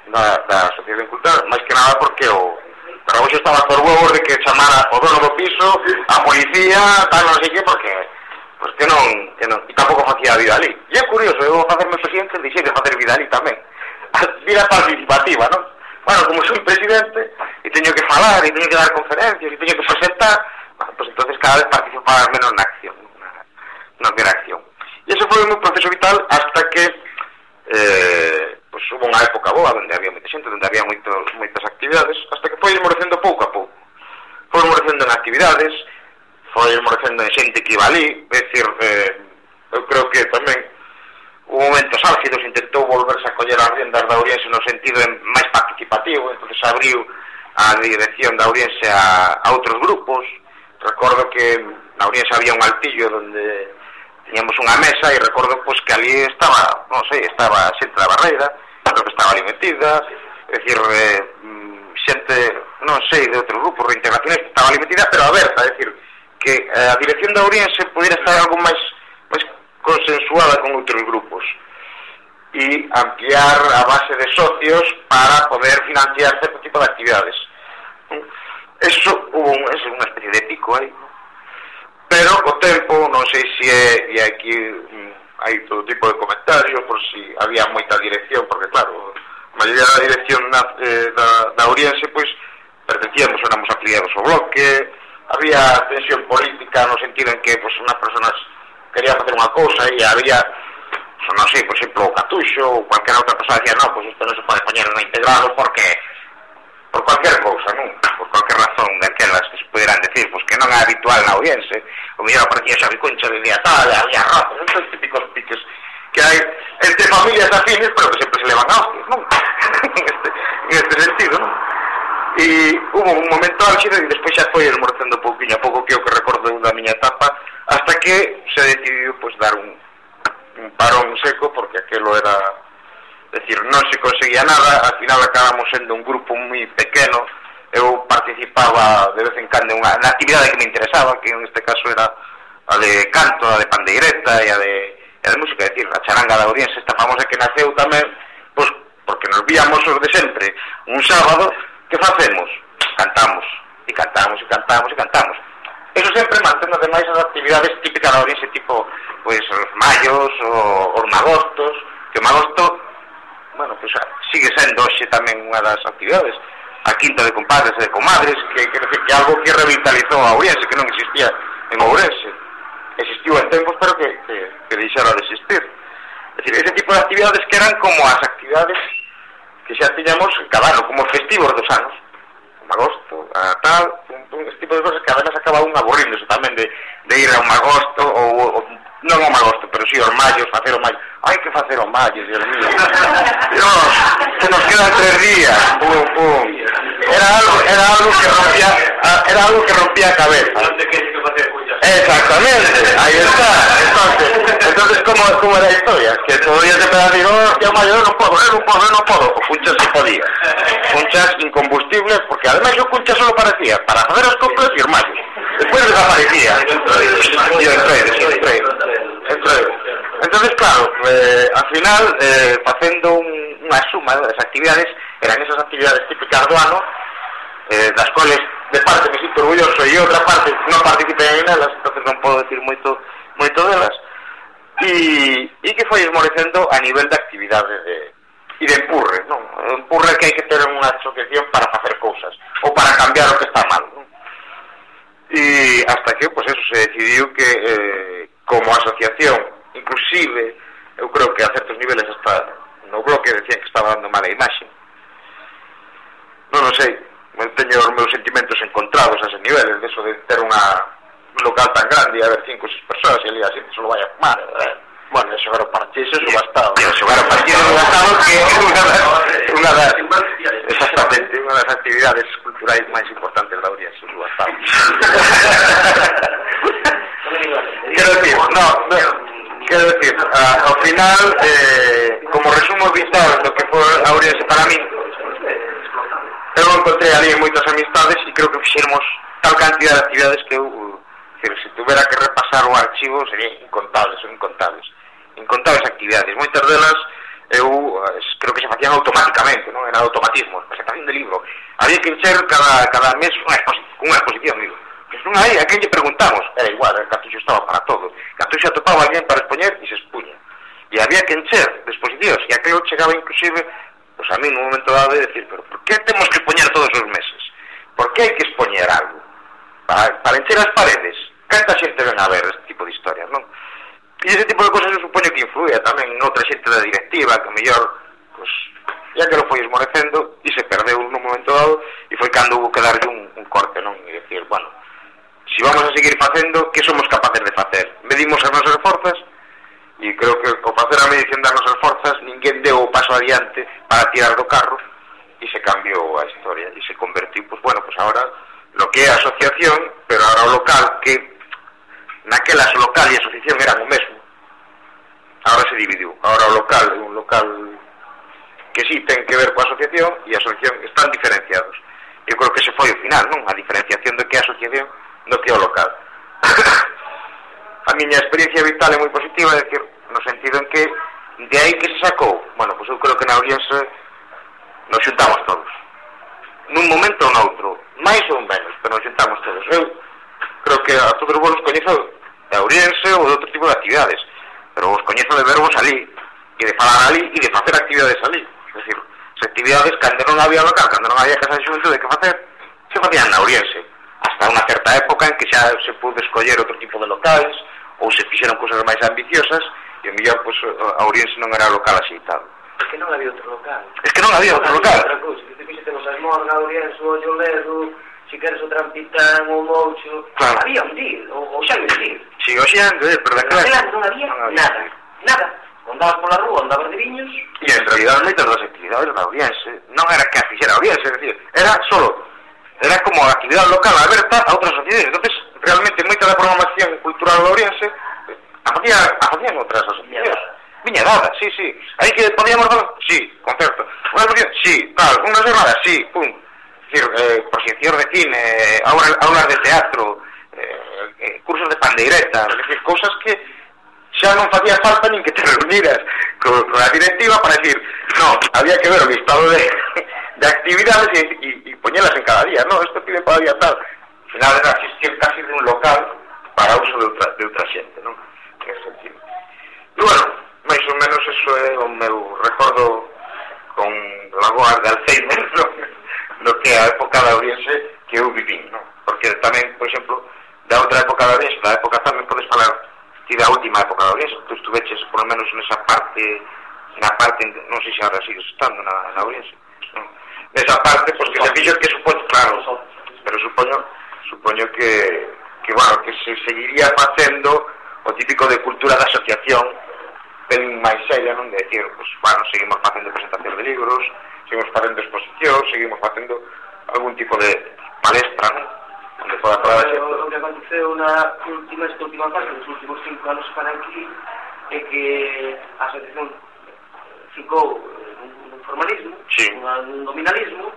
da Asociación Cultural, máis que nada porque o Carragoxo estaba por huevos de que chamara o dono do piso, a policía, tal, non sei que, porque pues que non, e tampouco facía vida ali. E é curioso, eu vou facerme presidente e dixei de facer vida ali tamén. Vida participativa, non? Bueno, como soy presidente e teño que falar, e teño que dar conferencias, e teño que presentar, bueno, pues entonces cada vez participaba menos na acción, na acción. E ese foi un proceso vital hasta que pues hubo unha época boa onde había moita xente, onde había moitas actividades, hasta que foi esmorecendo pouco a pouco. Foi esmorecendo en actividades, foi esmorecendo en xente que iba ali, é dicir, eu creo que tamén hubo momentos álgidos, intentou volverse a coller as riendas da Ouriense no sentido máis participativo, entonces abriu a dirección da Ouriense a outros grupos. Recordo que na Ouriense había un altillo onde tiñamos unha mesa e recordo pues, que ali estaba, non sei, estaba xente da Barreira, creo que estaba ali metida, é dicir, xente, non sei, de outros grupos, reintegraciones, estaba ali metida, pero aberta, é dicir, que a dirección da Ouriense pudiera estar algo máis consensuada con outros grupos e ampliar a base de socios para poder financiar certo tipo de actividades. Eso hubo unha especie de pico aí, pero co tempo, non sei se e aquí hai todo tipo de comentarios por si había moita dirección, porque claro, a maioría da dirección da Ouriense pois pertencíamos, éramos afiliados ao bloque, había tensión política no sentido en que pois unhas personas querían facer unha cousa e había, non sei, por exemplo, o Catuxo ou cualquier outra persona decía, non, pois isto non se pode poñer no integrado porque por cualquier cousa, non? Por cualquier razón daquelas que se pudieran decir, pois que non é habitual na Ouriense, o mellor aparecía Xavi Concha de día tal, había razas, estos típicos piques que hai entre familias afines, pero que sempre se levan a hostias, non? en este sentido, non? E hubo un momento álxido e despois xa foi esmorecendo pouquinho a pouco, que é o que recordo da miña etapa, hasta que se decidiu pois dar un parón seco, porque aquelo era, decir, non se conseguía nada, al final acabamos sendo un grupo moi pequeno. Eu participaba de vez en cando na actividade que me interesaba, que en este caso era a de canto, a de pandeireta e e de música, é dicir, a charanga da Ourense, esta famosa que naceu tamén, pois, porque nos víamos os de sempre, un sábado, que facemos? Cantamos, e cantamos, e cantamos, e cantamos. Eso sempre mantendo ademais as actividades típicas da Ourense, tipo, pois, os mallos, os magostos, que o magosto, bueno, pois, sigue sendo hoxe tamén unha das actividades, a quinta de compadres e de comadres, que é algo que revitalizou a Ourense, que non existía en Ourense. Existiu en tempos, pero que deixara de existir. É dicir, ese tipo de actividades que eran como as actividades que xa tiñamos cada ano, como festivos dos anos. O magosto, a tal, ese tipo de cosas que a veces acaba un aburrindo tamén de ir ao magosto, ou non ao magosto, pero si aos mallos, facer o mallo. Hai que facer o mallo, Dios mío. Dios, que nos quedan 3 días. Pum, pum. Era algo que rompía a cabeza. Non te queres que facer puñas. Exactamente, ahí está. Entonces ¿cómo era a historia? Que todo día te pega a decir, hostia, mayo, no puedo. O Cunchas sí podía. Cunchas incombustibles, porque además yo Cunchas solo parecía para hacer os coplas y os mayos. Después desaparecía. Y entré. Entonces, claro, al final, facendo unha suma das actividades, eran esas actividades típicas do ano, das cuales de parte me sinto orgulloso e outra parte non participei en elas, entonces non podo decir moito delas, e que foi esmorecendo a nivel de actividade e de empurre, non? Empurre que hai que ter unha asociación para facer cousas ou para cambiar o que está mal, non? E hasta que, pues eso, se decidiu que como asociación, inclusive eu creo que a certos niveles hasta no bloque decían que estaba dando mala imaxe, non sei, teño os meus sentimentos encontrados a ese nivel, de eso de ter un local tan grande e haber 5 ou 6 persoas e ali a xente solo vai a fumar, bueno, xogar o parchís é subastado, xogar o parchís é subastado, que é unha das actividades culturais máis importantes da Ourense, o subastado. Quero decir, ao final, como resumo vital do que foi a Ourense para mí, eu encontrei ali moitas amistades e creo que fixemos tal cantidad de actividades que eu, se tuvera que repasar o archivo, serían incontables actividades. Moitas delas eu creo que se facían automáticamente, non? Era automatismo, presentación de libro. Había que encher cada mes unha exposición, digo. Pois non hai, a quen lle preguntamos? Era igual, el Cartuxo estaba para todo. Cartuxo atopaba alguén para expoñer e se expuña. E había que encher de exposicións, e aquello chegaba inclusive, pues a mí nun momento dado de decir, pero por que temos que expoñer todos os meses? Por que hai que expoñer algo? Para encher as paredes. Canta xente ven a ver este tipo de historias, non? E ese tipo de cosas eu supoño que influía tamén en outra xente da directiva, que mellor, pues, ya que lo foi esmorecendo, e se perdeu nun momento dado, e foi cando hubo que darlle un corte, non? E decir, bueno, si vamos a seguir facendo, que somos capaces de facer? Medimos as nosas forzas, e creo que ao facer a medición das nosas forzas ninguén deu o paso adiante para tirar do carro e se cambiou a historia e se convertiu, pues bueno, pues ahora lo que é a asociación, pero ahora o local, que naquelas o local e a asociación eran o mesmo, ahora se dividiu. Ahora o local é un local que sí ten que ver coa asociación e a asociación están diferenciados. Eu creo que se foi o final, non? A diferenciación do que é a asociación do que é o local. A miña experiencia vital é moi positiva, é dicir, no sentido en que de aí que se sacou, bueno, pois eu creo que na Ourense nos xuntamos todos, nun momento ou noutro, máis ou menos, pero nos xuntamos todos. Eu creo que a todos vos os coñezo de Ourense ou de outro tipo de actividades, pero vos coñezo de vervos ali, e de falar ali, e de facer actividades ali. É dicir, as actividades, cando non había local, cando non había casa de xuventude que facer, se facían na Ourense, hasta unha certa época en que xa se pude escoller outro tipo de locais, ou se fixeron cousas máis ambiciosas, e o mellor, pois, a Ourense non era local axeitado. É que non había outro local. É que non había outro local. Outra cousa, que te fixetemos as Morgas, a Ourense, o Olledo, se queres o Trampitán, o Moucho, claro. Había un día, o xa un día. Si, o xa, pero daquela non había nada. Andabas pola rúa, andabas de viños. E en realidad, moitas das actividades da Ourense non era que a fixera a Ourense, é dicir, era como a actividade local aberta a outras sociedades. Entonces, realmente, moita da programación cultural da Ourense a facían outras asociacións. Viña dada, sí. Aí que podíamos dar, sí, concerto. Unha asociación, sí, tal, unha jornada, sí, pum. Es decir, proxeccións de cine, aulas de teatro, cursos de pandeireta, es decir, cousas que xa non facía falta nin que te reuniras con a directiva para decir, no, había que ver o listado de actividades e poñelas en cada día, no, isto pide para día tal. Al final era existir casi de un local para uso de outra xente, non? En ese sentido. E bueno, máis ou menos eso é o meu recordo con lagoas de Alzheimer, no que a época da Ourense que eu vivín, non? Porque tamén, por exemplo, da outra época da Ourense, da época tamén podes falar ti da última época da Ourense, tú estuveches por lo menos nesa parte, non sei se ahora sigues estando na Ourense, non? Nesa parte, pois que se fixo que supoño, claro, pero supoño que bueno, que se seguiría facendo o típico de cultura da asociación ben máis seria, non? De decir, pues, bueno, seguimos facendo presentacións de libros, seguimos facendo exposicións, seguimos facendo algún tipo de palestra, non? Onde poda falar a xente. O que aconteceu esta última fase, nos últimos 5 anos para aquí, é que a asociación ficou nun formalismo, nun nominalismo,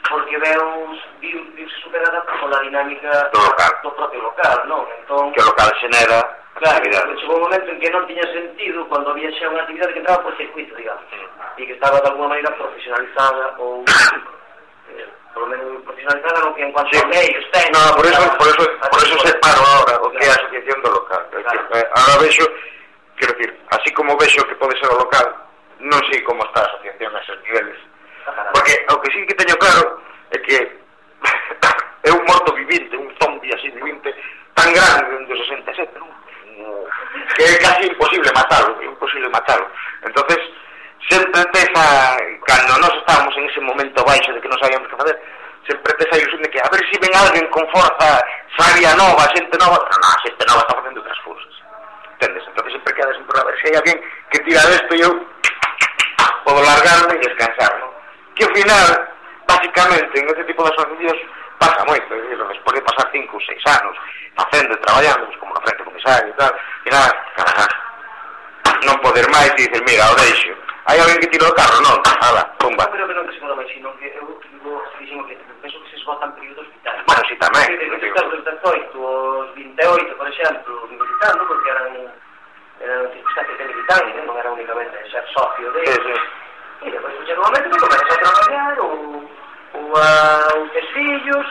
porque viuse superada pola dinámica do propio local, non? Entón, que o local xenera actividades. Chegou un momento en que non tiña sentido cando había xa unha actividade que entraba por circuito, digamos, e que estaba de alguma maneira profesionalizada ou por lo menos profesionalizada no que en cuanto a medios técnicos. No, por eso separo ahora o que é a asociación do local. Ahora vexo, quero decir, así como vexo que pode ser o local, non sei como está a asociación a esos niveles. Porque o que sí que teño claro é que é un morto vivinte, un zombi así vivinte, tan grande do 67, non? Que é casi imposible matarlo. Entonces, sempre esa, cando nós estábamos en ese momento baixo de que non sabíamos que fazer, sempre esa ilusión de que a ver se ven alguén con forza, sabia nova, xente nova. Non, a xente nova está facendo outras cousas, entendes? Entonces sempre queda sempre a ver se hai alguén que tira desto e eu podo largarme e descansar, non? Que ao final, básicamente, en ese tipo de asociacións pasa moito, despois de pasar 5 ou 6 anos facendo e traballando, pues, como no frente comisario e tal, e nada, non poder máis e dicer, mira, o deixo. Hai alguén que tira o carro? Non, ala, pumba. Eu creo que non que se moda máis, sino que eu dixen que penso que se esgotan períodos vitales. Bueno, si tamén. Desde os 18 aos 28, por exemplo, militando, porque eran circunstancias de militante, non era únicamente ser socio de ellos. E depois chega un momento que comenzas a traballar ou a ter fillos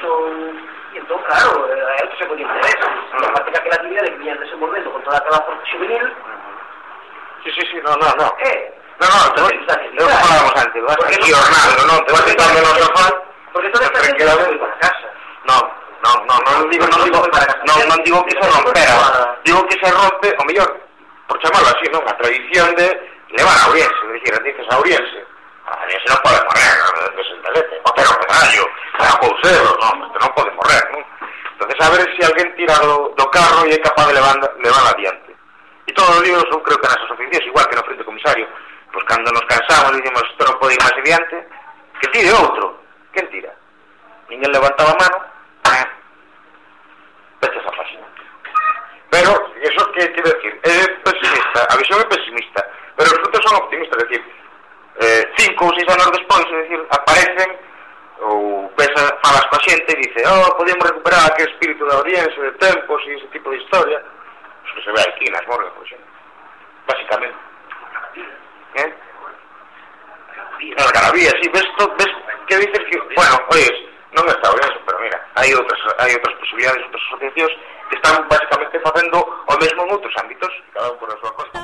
e entón, claro, é outro tipo de interés. A parte que aquela actividade que viñan desenvolvendo con toda aquela forza juvenil. Sí, no. Non falamos antes, vas aquí ornando, non? Te vas sentando no sofá. Porque toda esta gente vai para casa. Non digo que se rompera. Digo que se rompe, o mellor, por chamarlo así, non? A tradición de levar a Ourense, é dicir, dices a Ourense. A Ourense non pode morrer, de 67, o ter o pedallo, a Couseiro, non, este non pode morrer, non? Entonces, a ver se alguén tira do carro e é capaz de levar adiante. E todos os días, eu creo que nas asociacións, igual que no frente comisario, pois cando nos cansamos e dicimos, isto non pode ir máis adiante, que tire outro. Quen tira? Ninguén levantaba a mano, vete esa página. Pero, eso que quero decir, é pesimista, a visión é pesimista, pero os frutos son optimistas, é dicir, 5 ou 6 anos despois, é dicir, aparecen, ou falas coa xente e dice, podemos recuperar aquele espírito da Ourense, de tempos e ese tipo de historia. Que se ve aquí nas morgas, por exemplo, básicamente. Nas Garavía, sí, ves que dices que, bueno, oye, non está ben eso, pero mira, hai outras posibilidades, outras asociacións que están básicamente facendo o mesmo en outros ámbitos, cada un por a súa costa.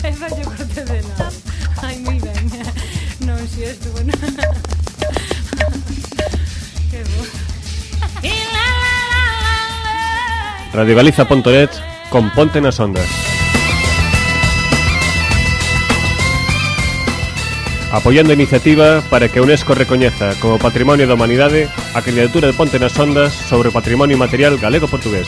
Esa yo corte de nada. Ai, moi ben. Non, si estuvo, non. Radiogaliza.net con Ponte nas Ondas. Apoiando a iniciativa para que a UNESCO recoñeza como Patrimonio da Humanidade a candidatura de Ponte nas Ondas sobre o patrimonio material galego-portugués.